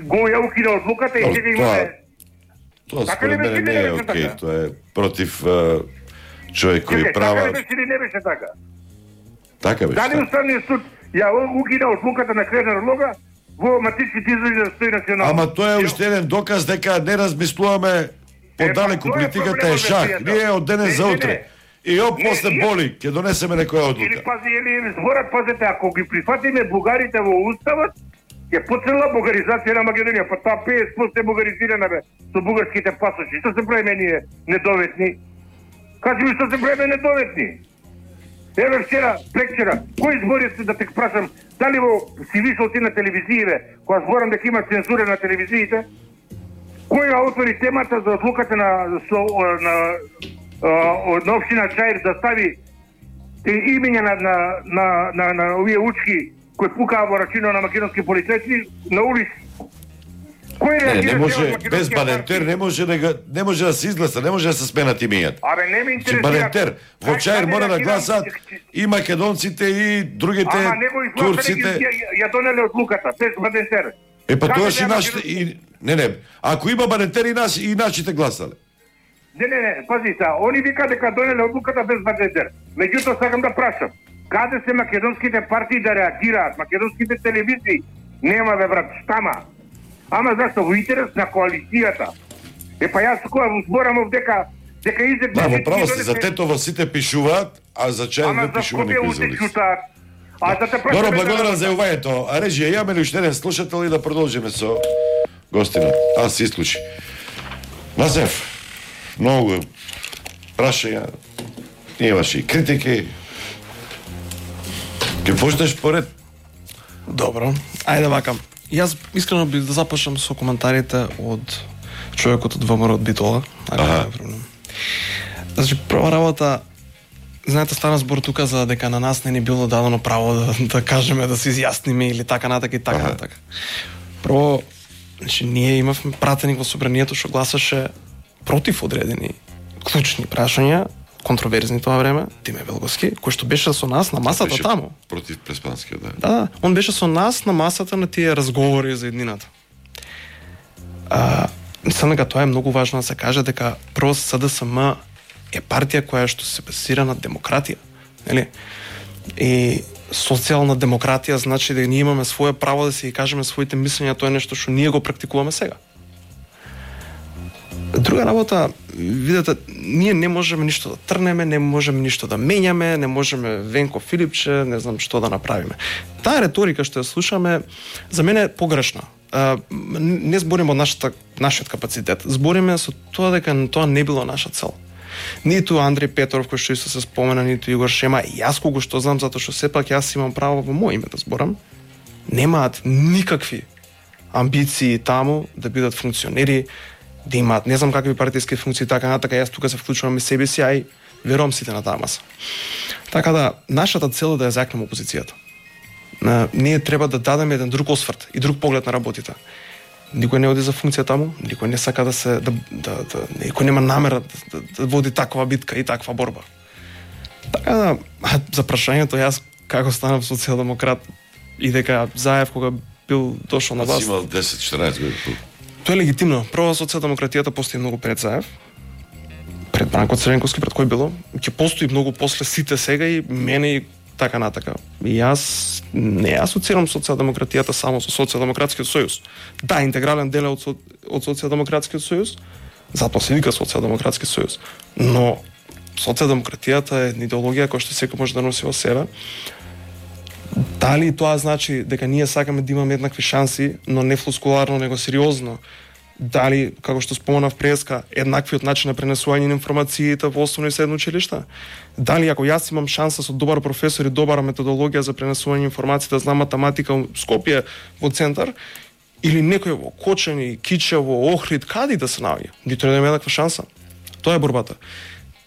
Го ја укина одлуката и Тоа- сега имаме. Тоа Така ли според мене беше, не е не беше окей, така? тоа е против е, човекови Чекај, така права. ли беше или не беше така? Така беше. Дали така. Уставниот суд ја укина одлуката на Кренар Лога во матичните изводи да стои национално? Ама тоа е уште еден доказ дека не размислуваме подалеку, Е, па, тоа е политиката е проблемот, шах. пријател. Ние од денес Не, за не, утре. не. И оп, Не, после ние- боли, ќе донесеме некоја Или одлука. пази, или зборат, пазете, ако ги прифатиме бугарите во уставот, ќе почнела бугаризација на Македонија, па таа петдесет проценти е бугаризирана бе со бугарските пасоши. Што се правиме ние недоветни? Кажи ми што се правиме недоветни? Еве вчера, прекчера, кој збори се да те прашам, дали во си вишол ти на телевизиите, кога зборам дека има цензура на телевизиите, кој ја отвори темата за одлуката на со, на, на, на општина Чаир да стави имења на на на на, на овие учки кои пукаа во рачино на македонски полицајци на улици. Кој Не, реагира не дел може, од без македонскија Балентер партија? не може да, га- не може да се изгласа, не може да се сменат имињата. Абе, не ме Че интересира. Балентер, во Кај- Чаир каде мора да реагирам? гласат и македонците и другите Ама него изгласа турците. ја, ја, ја донеле одлуката, без Балентер. Е па Каде тоа и беа нашите македонците? и не не, ако има Балентер и нас и нашите гласале. Не, не, не, пази са, они вика дека донеле одлуката без Балентер. Меѓутоа сакам да прашам, каде се македонските партии да реагираат, македонските телевизии? Нема бе брат, штама. Ама зашто во интерес на коалицијата. Е па јас кога зборам дека дека изек Да, во право сте, за Тетово сите пишуваат, а за Чаир Ама не за пишува Скопје никој уште за лист. чутаат. А да те Добро, благодарам за јавањето. А режија, имаме ли уште еден слушател и да продолжиме со гостинот? Аз се исклучи. Назев, многу прашања, имаше и критики. Ке почнеш поред? Добро, ајде вака. Јас искрено би да започнам со коментарите од човекот од ВМРО од Битола. Ако не е проблем. Значи, прва работа, знаете, стана збор тука за дека на нас не ни било дадено право да, да кажеме, да се изјасниме или така натака и така Аха. натака. Прво, значи, ние имавме пратеник во собранието што гласаше против одредени клучни прашања, контроверзни тоа време, Тиме Велговски, кој што беше со нас на масата Беше таму. Против Преспанскиот, да. Да, да, он беше со нас на масата на тие разговори за еднината. А, мислам дека тоа е многу важно да се каже дека прво СДСМ е партија која што се базира на демократија, нели? И социјална демократија значи дека ние имаме свое право да си ги кажеме своите мислења, тоа е нешто што ние го практикуваме сега. Друга работа, видете, ние не можеме ништо да трнеме, не можеме ништо да менјаме, не можеме Венко Филипче, не знам што да направиме. Таа реторика што ја слушаме, за мене е погрешна. А, не збориме од нашата, нашиот капацитет, збориме со тоа дека тоа не било наша цел. Ниту Андреј Петров, кој што исто се спомена, ниту Игор Шема, и јас кога што знам, затоа што сепак јас имам право во моје име да зборам, немаат никакви амбиции таму да бидат функционери, да имаат не знам какви партиски функции, така натака, јас тука се вклучувам и себе си, а и верувам сите на таа маса. Така да, нашата цел е да ја закнеме опозицијата. На, ние треба да дадеме еден друг осврт и друг поглед на работите. Никој не оди за функција таму, никој не сака да се да, да, да никој нема намера да, да, да води таква битка и таква борба. Така да, за прашањето јас како станав социјалдемократ и дека Заев кога бил дошол на Аз власт. имал десет-четинаесет години. Тоа е легитимно. Прво, социјалдемократијата постои многу пред Заев, пред Бранко Црвенковски, пред кој било. Ќе постои многу после сите сега и мене и така натака. И јас не асоцирам социјалдемократијата само со Социјалдемократскиот сојуз. Да, интегрален дел е од, со, од Социјалдемократскиот сојуз, затоа се вика Социјалдемократски сојуз. Но социјалдемократијата е идеологија која што секој може да носи во себе. Дали тоа значи дека ние сакаме да имаме еднакви шанси, но не флускуларно, него сериозно? Дали, како што споменав преска, еднаквиот начин на пренесување на информациите во основни и средни училишта? Дали ако јас имам шанса со добар професор и добра методологија за пренесување на информација, да знам математика во Скопје во центар, или некој во Кочани, Кичево, Охрид, каде да се наоѓа? Ни треба да има еднаква шанса. Тоа е борбата.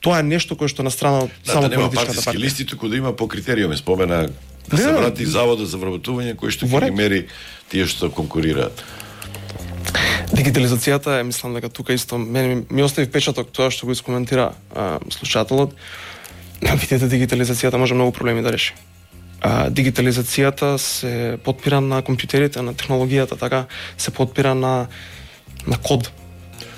Тоа е нешто кое што на страна од Да, само да нема политичката партиски партија. листи, туку да има по критериуми. Спомена да Не, се не, врати заводот за вработување кој што во ќе ги ред. мери тие што конкурираат. Дигитализацијата е, мислам дека тука исто мене ми, ми остави впечаток тоа што го искоментира а, слушателот. Видите, дигитализацијата може многу проблеми да реши. А, дигитализацијата се потпира на компјутерите, на технологијата, така се потпира на на код.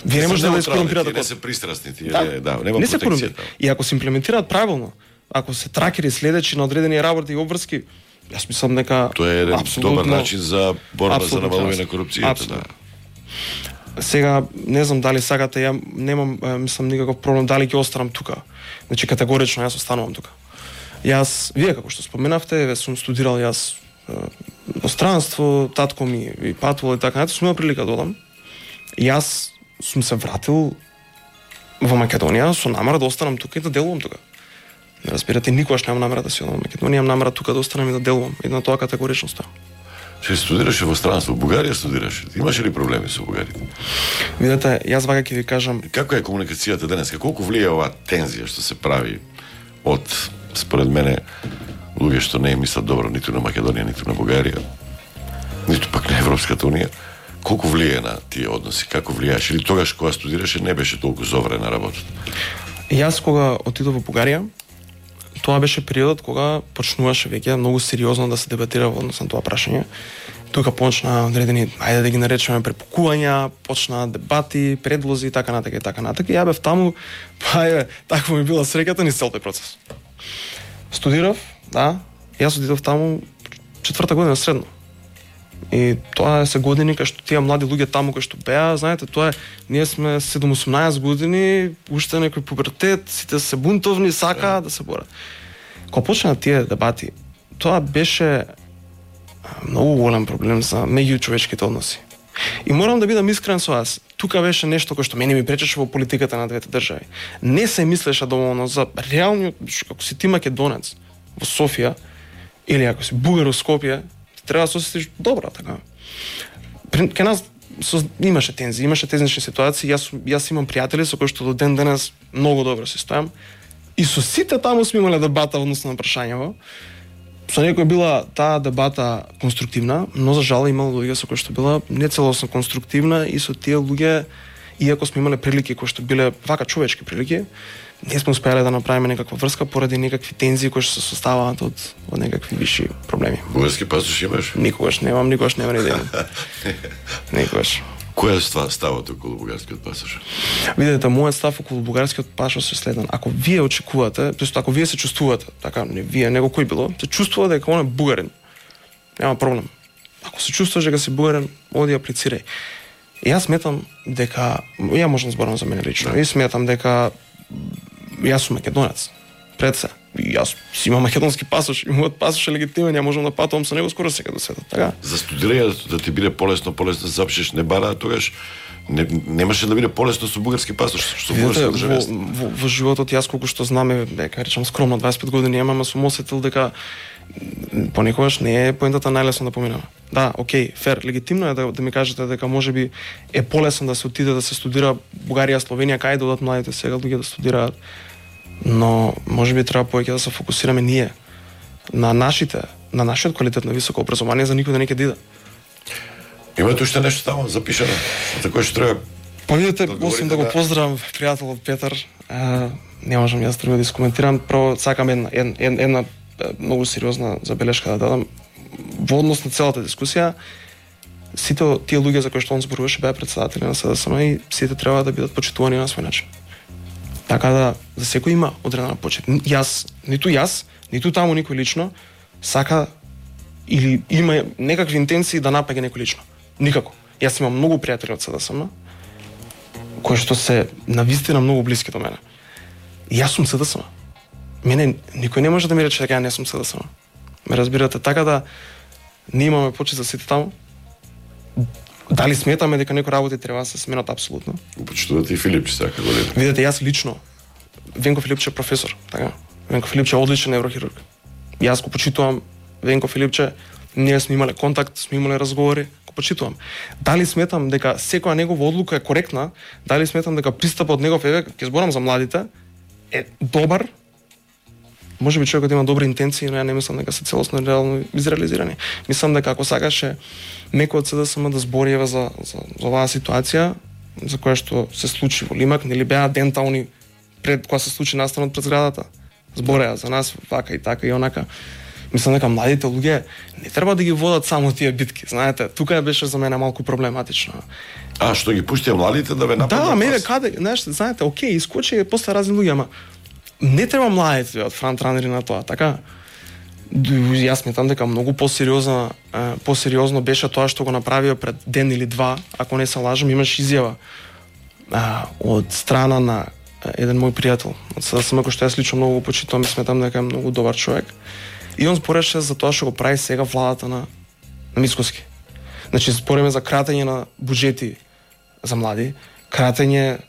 Вие не можете да искорумпирате Не код. се пристрасни, тие Да, не, да, нема не се протекција корумпира. таму. И ако се имплементираат правилно, ако се тракери следечи на одредени работи и обврски, јас мислам дека Тоа е еден добар начин за борба за апсолутно намалување на јасно. корупцијата, да. Апсолутно. Сега не знам дали сакате, ја немам е, мислам никаков проблем дали ќе останам тука. Значи категорично јас останувам тука. Јас, вие како што споменавте, ве сум студирал јас е, иностранство, татко ми и патувал и така натаму, сум имал прилика да одам. Јас сум се вратил во Македонија со намера да останам тука и да делувам тука. Не разбирате, никогаш немам намера да си одам во Македонија, имам намера тука да останам и да делувам. И на тоа категорично ставам. Што студираше во странство, во Бугарија студираше. Имаше ли проблеми со бугарите? Видете, јас вака ќе ви кажам, Како е комуникацијата денес? Колку влие оваа тензија што се прави од, според мене, луѓе што не мислат добро ниту на Македонија, ниту на Бугарија, ниту пак на Европската унија? Колку влие на тие односи? Како влијаше? Или тогаш кога студираше не беше толку зоврена работата? јас кога отидов во Бугарија, тоа беше периодот кога почнуваше веќе многу сериозно да се дебатира во однос на тоа прашање. Тука почна одредени, ајде да ги наречеме препукувања, почна дебати, предлози и така натака и така натака. И ја бев таму, па е, таква ми била среќата низ цел тој процес. Студирав, да, јас отидов таму четврта година средно. И тоа се години кај што тие млади луѓе таму кај што беа, знаете, тоа е, ние сме седум-осумнаесет години, уште некој пубертет, сите се бунтовни, сакаат да се борат. Кога почнаа тие дебати, тоа беше многу голем проблем за меѓучовечките односи. И морам да бидам искрен со вас. Тука беше нешто кој што мене ми пречеше во политиката на двете држави. Не се мислеше доволно за реалниот, ако си ти македонец во Софија или ако си бугар во Скопје, треба да се осетиш добро, така. Ке нас со, имаше тензии, имаше тезнични ситуации. Јас јас имам пријатели со кои што до ден денес многу добро се стојам. И со сите таму сме имале дебата односно на прашањево. Со некој била таа дебата конструктивна, но за жал имало луѓе со кои што била нецелосно конструктивна и со тие луѓе, иако сме имале прилики кои што биле вака човечки прилики, не сме успеале да направиме некаква врска поради некакви тензии кои што се составаат од, од некакви виши проблеми. Бугарски пасош имаш? Никогаш немам, никогаш нема ни ден. Никогаш. Кој е ставот околу бугарскиот пасош? Видете, мојот став околу бугарскиот пасош е следен. Ако вие очекувате, тоест ако вие се чувствувате, така, не вие, него кој било, се чувствува дека он е бугарин. Нема проблем. Ако се чувствуваш дека си бугарин, оди аплицирај. И јас сметам дека, ја можам да зборам за мене лично, и сметам дека јас сум македонец. Пред се. И јас си имам македонски пасош, и мојот пасош е легитимен, ја можам да патувам со него скоро сега до светот, така? За студирање да ти биде полесно, полесно да запишеш не бара, тогаш не, немаше да биде полесно со бугарски пасош, со бугарски државност. Во, во, во животот јас колку што знаме, дека речам скромно дваесет и пет години имам, сум осетил дека понекогаш не е поентата најлесно да поминава. Да, окей, фер, легитимно е да, да ми кажете дека можеби е полесно да се отиде да се студира Бугарија, Словенија, кај да одат младите сега луѓе да студираат. Но можеби треба повеќе да се фокусираме ние на нашите, на нашиот квалитет на високо образование за никој да не ќе диде. Имате уште нешто таму запишано? За кој што треба? Па видите, освен да го поздравам пријателот Петар, а, не можам јас друго да искоментирам, прво сакам една, една, една многу сериозна забелешка да дадам. Во однос на целата дискусија, сите тие луѓе за кои што он зборуваше беа претседатели на СДСМ и сите треба да бидат почитувани на свој начин. Така да, за секој има одредена почит. Јас, ниту јас, ниту таму никој лично, сака или има некакви интенции да напаѓа некој лично. Никако. Јас имам многу пријатели од СДСМ, кои што се навистина многу блиски до мене. Јас сум СДСМ. Мене никој не може да ми рече дека ја не сум СДСМ. Ме разбирате, така да ние имаме почит за сите таму. Дали сметаме дека некои работи треба да се сменат апсолутно? Почитувате и Филипче сака година. Видете, јас лично, Венко Филипче е професор, така? Венко Филипче е одличен неврохирург. Јас го почитувам Венко Филипче, ние сме имале контакт, сме имале разговори, го почитувам. Дали сметам дека секоја негова одлука е коректна, дали сметам дека пристапот од негов еве, ќе зборам за младите, е добар, можеби човекот има добри интенции, но ја не мислам дека се целосно реално изреализирани. Мислам дека ако сакаше некој од СДСМ да збори еве за, за, за оваа ситуација, за која што се случи во Лимак, нели беа дентални пред кога се случи настанот пред зградата. Збореа за нас вака и така и онака. Мислам дека младите луѓе не треба да ги водат само тие битки, знаете. Тука беше за мене малку проблематично. А што ги пуштија младите да ве нападнат? Да, мене каде, знаеш, знаете, окей, искочи после разни луѓе, ама не треба младите од фронтранери на тоа, така? Јас сметам дека многу посериозно, посериозно беше тоа што го направио пред ден или два, ако не се лажам, имаш изјава а, од страна на еден мој пријател, од СДСМ, кој што јас лично многу го почитувам и сметам дека е многу добар човек. И он збореше за тоа што го прави сега владата на, на Мицкоски. Значи, збориме за кратење на буџети за млади, кратење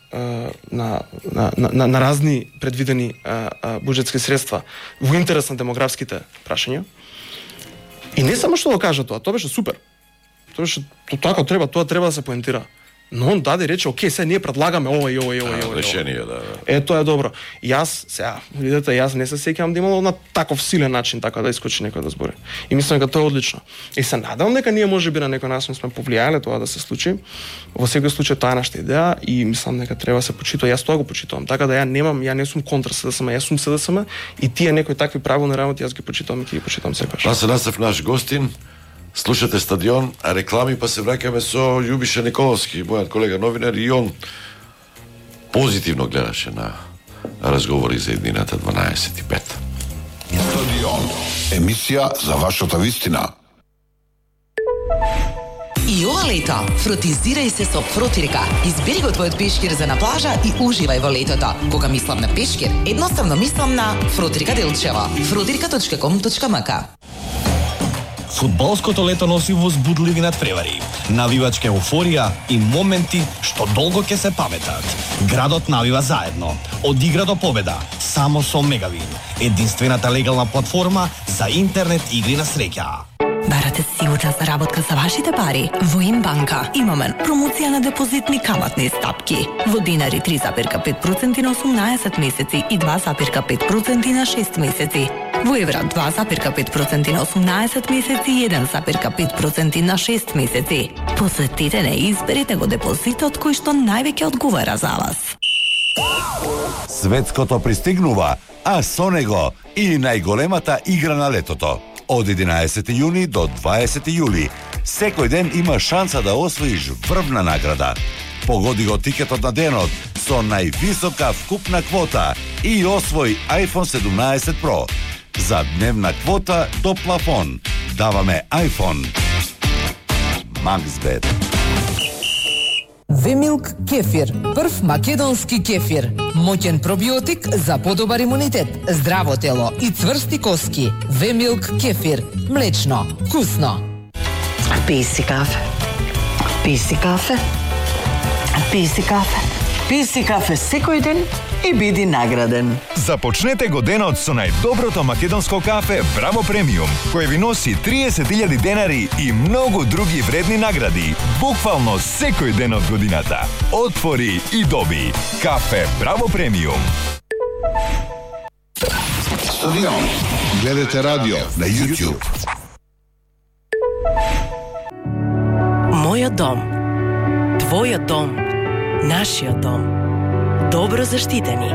на, на, на, на разни предвидени а, а, буџетски средства во интерес на демографските прашања. И не само што го кажа тоа, тоа беше супер. Тоа беше тоа како треба, тоа треба да се поентира. Но он даде рече, окей, сега ние предлагаме ова и ова и ова и ова. Решение, да, да. Е, тоа е добро. Јас, сега, видете, јас не се сеќавам да имало на таков силен начин така да искочи некој да збори. И мислам дека тоа е одлично. И се надевам дека ние можеби на некој начин сме повлијале тоа да се случи. Во секој случај тоа е нашата идеја и мислам дека треба да се почитува. Јас тоа го почитувам. Така да ја немам, ја не сум контра СДСМ, јас сум СДСМ и тие некои такви правилни работи јас ги почитувам и ќе ги почитувам секогаш. Васе Насев, наш гостин. Слушате Стадион, а реклами, па се враќаме со Љубиша Николовски, мојот колега новинар, и он позитивно гледаше на разговори за еднината дванаесет и пет. Стадион, емисија за вашата вистина. И ова лето, фротизирај се со Фротирка. Избери го твојот пешкир за на плажа и уживај во летото. Кога мислам на пешкир, едноставно мислам на Фротирка Делчево. фротирка точка ком точка м к. Фудбалското лето носи возбудливи надпревари, навивачка еуфорија и моменти што долго ќе се паметат. Градот навива заедно, од игра до победа, само со Мегавин, единствената легална платформа за интернет игри на среќа. Барате сигурна заработка за вашите пари? Во Имбанка имаме промоција на депозитни каматни стапки. Во динари три зарез пет проценти на осумнаесет месеци и два зарез пет проценти на шест месеци. Во евра два зарез пет проценти на осумнаесет месеци и еден зарез пет проценти на шест месеци. Посетете не и изберете го депозитот кој што највеќе одговара за вас. Светското пристигнува, а со него и најголемата игра на летото. Од единаесети јуни до дваесети јули, секој ден има шанса да освоиш врвна награда. Погоди го тикетот на денот со највисока вкупна квота и освој iPhone седумнаесет Pro. За дневна квота до плафон даваме iPhone. Максбет. Вемилк кефир, прв македонски кефир. Моќен пробиотик за подобар имунитет, здраво тело и цврсти коски. Вемилк кефир, млечно, вкусно. Пи си кафе. Пи си кафе. Пи си кафе. Пи си кафе секој ден и биди награден. Започнете го денот со најдоброто македонско кафе Браво Премиум, кој ви носи триесет илјади денари и многу други вредни награди, буквално секој ден од годината. Отвори и доби. Кафе Браво Премиум. Стадион. Гледате радио на YouTube. Мојот дом. Твојот дом. Нашиот дом. Добро заштитени.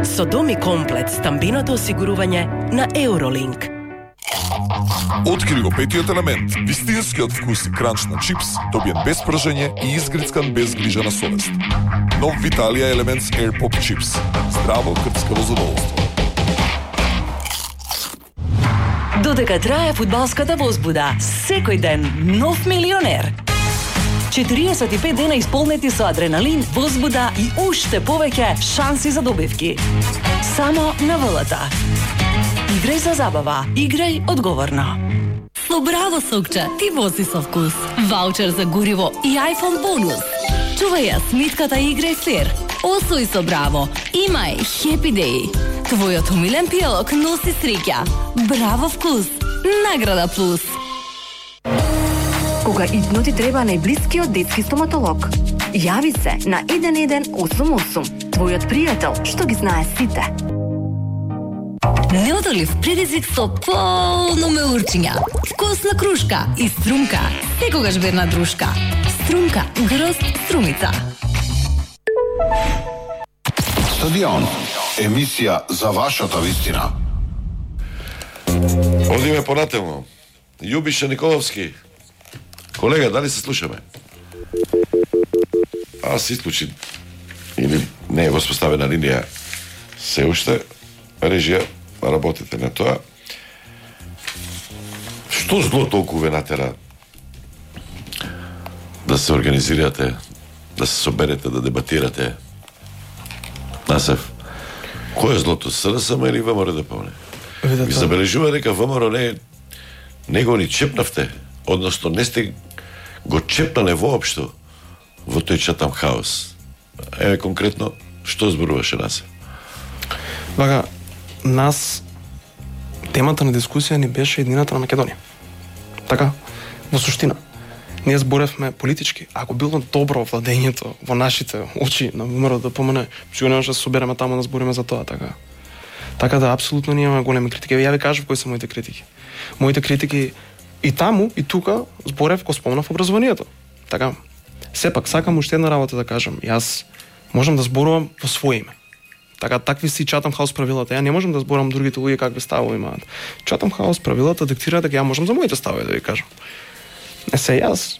Со Доми комплет стамбиното осигурување на Eurolink. Откри го петиот елемент, вистинскиот вкус и кранч на чипс, добиен без пржење и изгрицкан без грижа на совест. Нов Виталија Elements Air Pop Chips. Здраво крцкаво задоволство. Додека трае фудбалската возбуда, секој ден нов милионер. четириесет и пет дена исполнети со адреналин, возбуда и уште повеќе шанси за добивки. Само на ВЛТ. Играј за забава, играј одговорно. Со Браво сокче ти вози со вкус. Ваучер за гориво и iPhone бонус. Чувај ја сметката и играј фер. Освој со Браво. Имај Happy Day. Твојот умилен пијалок носи среќа. Браво вкус. Награда плюс. Кога итно ти треба најблискиот детски стоматолог, јави се на еден еден осум осум. Твојот пријател што ги знае сите. Неодолив предизвик со полно меурчиња, вкусна крушка и струмка, секогаш верна дружка. Струмка, грозд струмица. Стадион. Емисија за вашата вистина. Одиме понатаму. Јубиша Николовски. Колега, дали се слушаме? Аз исклучи или не е воспоставена линија се уште, режија, работите на тоа. Што зло толку ве натера да се организирате, да се соберете, да дебатирате? Насев, кој е злото? СРСМ или ВМРО ДП? Ви забележува дека ВМРО не, не го ни чепнавте, односно не сте го чепнале воопшто во тој чатам хаос. Еве конкретно, што зборуваше нас? Вака, нас темата на дискусија ни беше еднината на Македонија. Така, во суштина. Ние зборевме политички. Ако било добро владењето во нашите очи на ВМРО ДПМН, што немаше да се собереме таму да збориме за тоа, така. Така да, апсолутно ние имаме големи критики. Ја ви кажав кои се моите критики. Моите критики и таму, и тука зборев, го спомнав образованието. Така. Сепак, сакам уште една работа да кажам. Јас можам да зборувам во своје име. Така, такви си чатам хаус правилата. Ја не можам да зборам другите луѓе какви ставови имаат. Чатам хаус правилата диктира дека ја можам за моите ставови да ви кажам. Не се, јас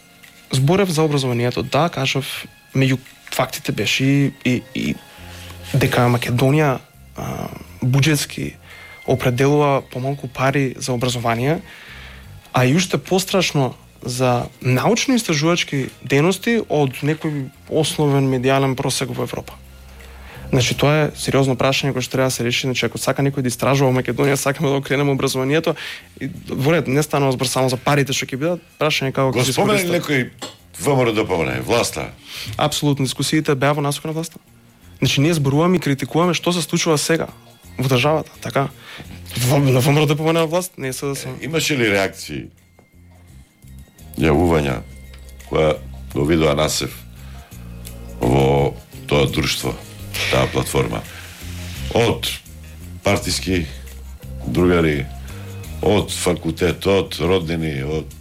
зборев за образованието. Да, кажав, меѓу фактите беше и, и, и дека Македонија а, буџетски определува помалку пари за образование, а и уште пострашно за научно-истражувачки дејности од некој основен медијален просек во Европа. Значи тоа е сериозно прашање кое што треба да се реши, значи ако сака некој да истражува Македонија, сакаме да окренеме образованието, и во ред не станува збор само за парите што ќе бидат, прашање како го спомена некој ВМРО да помне власта. Апсолутно дискусиите беа во насока на власта. Значи ние зборуваме и критикуваме што се случува сега во државата, така? На ВМРО да помне власт, не се да се. Имаше ли реакции? Јавувања која го видоа Насев во тоа друштво, таа платформа, од партиски другари, од факултет, од роднини, од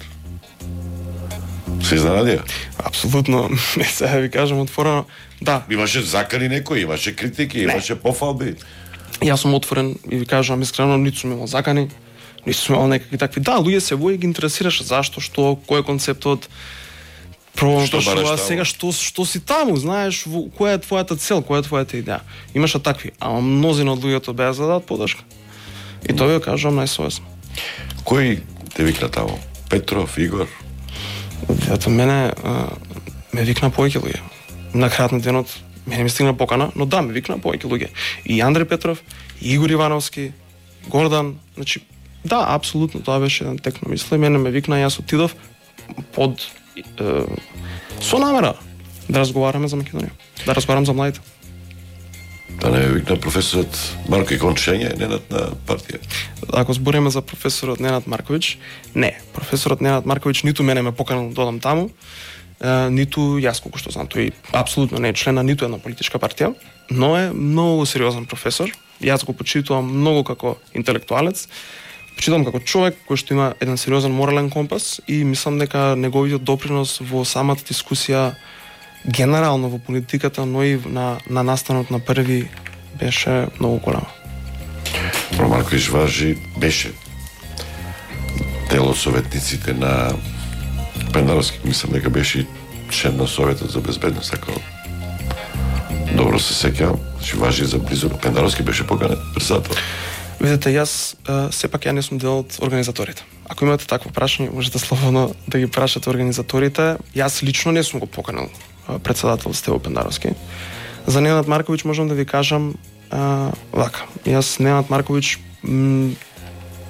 се изненадија? Апсолутно, не сега ви кажам отворено, да. Имаше закани некои, имаше критики, имаше пофалби. Јас сум отворен и ви кажам искрено, ниту сум имал закани, ниту сум имал некакви такви. Да, луѓе се вои ги интересираше зашто, што, кој е концептот, Што бараш сега што што си таму, знаеш, во, која е твојата цел, која е твојата идеја. Имаше такви, ама мнозина од луѓето беа за да дадат поддршка. И тоа ви кажам најсовесно. Кој те викна таму? Петров, Игор? Ето мене а, ме викна повеќе луѓе. На крајот на денот мене ми стигна покана, но да, ме викна повеќе луѓе. И Андреј Петров, и Игор Ивановски, Гордан, значи да, апсолутно тоа беше еден тек на мисли. Мене ме викна, јас отидов под со намера да разговараме за Македонија, да разговарам за младите. Да не викна професорот Марко Икончење, Ненад на партија? Ако збориме за професорот Ненад Марковиќ, не. Професорот Ненад Марковиќ ниту мене ме поканал да одам таму, е, ниту јас колку што знам, тој апсолутно не е член на ниту една политичка партија, но е многу сериозен професор. Јас го почитувам многу како интелектуалец. Почитам како човек кој што има еден сериозен морален компас и мислам дека неговиот допринос во самата дискусија генерално во политиката, но и на, на настанот на први беше многу голем. Про Марковиќ важи, беше дел од советниците на Пендаровски, мислам дека беше член на Советот за безбедност, ако добро се сеќавам, значи важи за близо. Пендаровски беше поканет председател. Видете, јас а, сепак ја не сум дел од организаторите. Ако имате такво прашање, можете слободно да ги прашате организаторите. Јас лично не сум го поканал а, председател Стево Пендаровски. За Ненад Марковиќ можам да ви кажам а, вака. Јас Ненад Марковиќ м,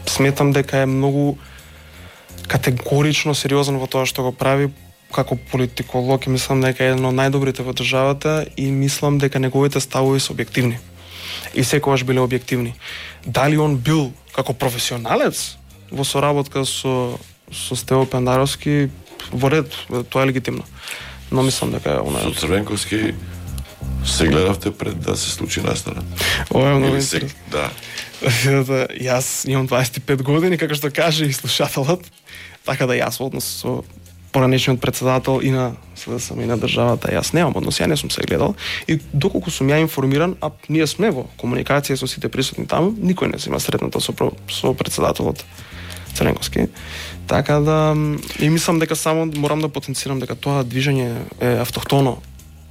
сметам дека е многу категорично сериозен во тоа што го прави како политиколог и мислам дека е еден од најдобрите во државата и мислам дека неговите ставови се објективни. И секогаш биле објективни. Дали он бил како професионалец во соработка со со Стево Пендаровски, во ред, тоа е легитимно. Но мислам дека она со Црвенковски се гледавте пред да се случи настана. Ова е многу интересно. Да. Јас имам дваесет и пет години, како што каже и слушателот, така да јас однос со поранешниот председател и на СДСМ и на државата, јас немам однос, ја не сум се гледал и доколку сум ја информиран, а ние сме во комуникација со сите присутни таму, никој не се има сретнато со, со председателот Црвенковски. Така да и мислам дека само морам да потенцирам дека тоа движење е автохтоно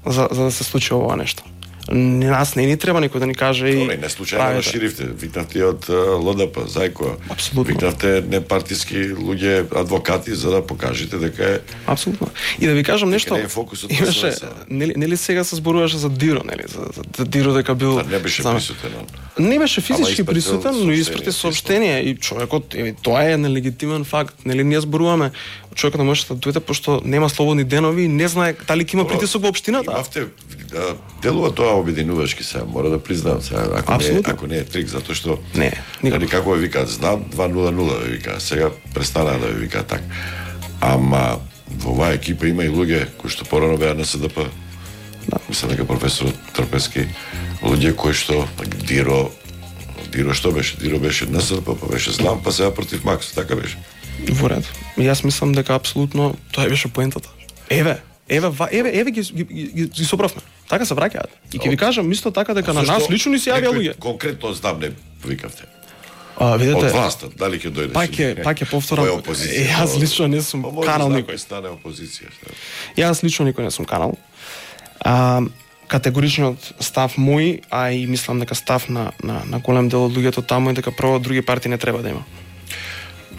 за, за да се случи ова нешто. Нас не ни треба никој да ни каже и... Добре, не случајно ширивте. Викнавте од ЛДП, Зајко. Апсолутно. Викнавте непартиски луѓе, адвокати, за да покажете дека е... Апсолутно. И да ви кажам нешто... Не е фокусот на имаше, нели, нели сега се зборуваше за Диро, нели? За, за, за Диро дека бил... Да, не беше присутен. Не беше физички присутен, но испрати сообщение. И човекот, е, тоа е нелегитимен факт. Нели, ние зборуваме, човекот не може да дојде, пошто нема слободни денови и не знае дали ќе има притисок во општината. Имавте, делува тоа обединувачки сега, мора да признам сега, ако Абсолютно. не, ако не е трик, затоа што не, никако. Нали, како ви викаат, знам два нула нула ви викаат, сега престанаа да ви викаат така. Ама во оваа екипа има и луѓе кои што порано беа на СДП. Да. Мислам дека професорот Трпески, луѓе кои што Диро, Диро што беше? Диро беше на СДП, па беше знам, па сега против Макс, така беше. Во ред. Јас мислам дека апсолутно тоа беше поентата. Еве, еве, еве, еве ги ги, ги, ги соправме. Така се враќаат. И ќе ви кажам исто така дека на нас лично ни се јавија луѓе. Конкретно знам не викавте. А, видете, од власта, дали ќе дојдеш? Пак е, пак е повторам. Јас лично не сум канал никој. Стане опозиција. Јас лично никој не сум канал. А, категоричниот став мој, а и мислам дека став на на на голем дел од луѓето таму е дека прво други партии не треба да има.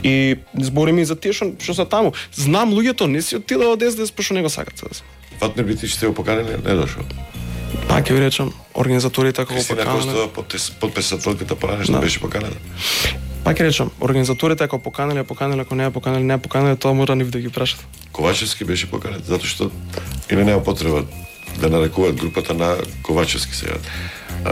И збориме и за тие што што се таму. Знам луѓето не си отидоа од ес де ес пошто не го сакат СДСМ. Фатнер би ти што го поканеле, не дошол. Па ќе ви речам, организаторите ако го Кристина поканеле. Костова, подписателката порано што Да. беше поканена. Па ќе речам, организаторите ако поканеле, поканеле, ако не ја поканеле, не ја поканеле, тоа мора нив да ги прашат. Ковачевски беше поканет, затоа што или нема потреба да нарекуваат групата на Ковачевски сега.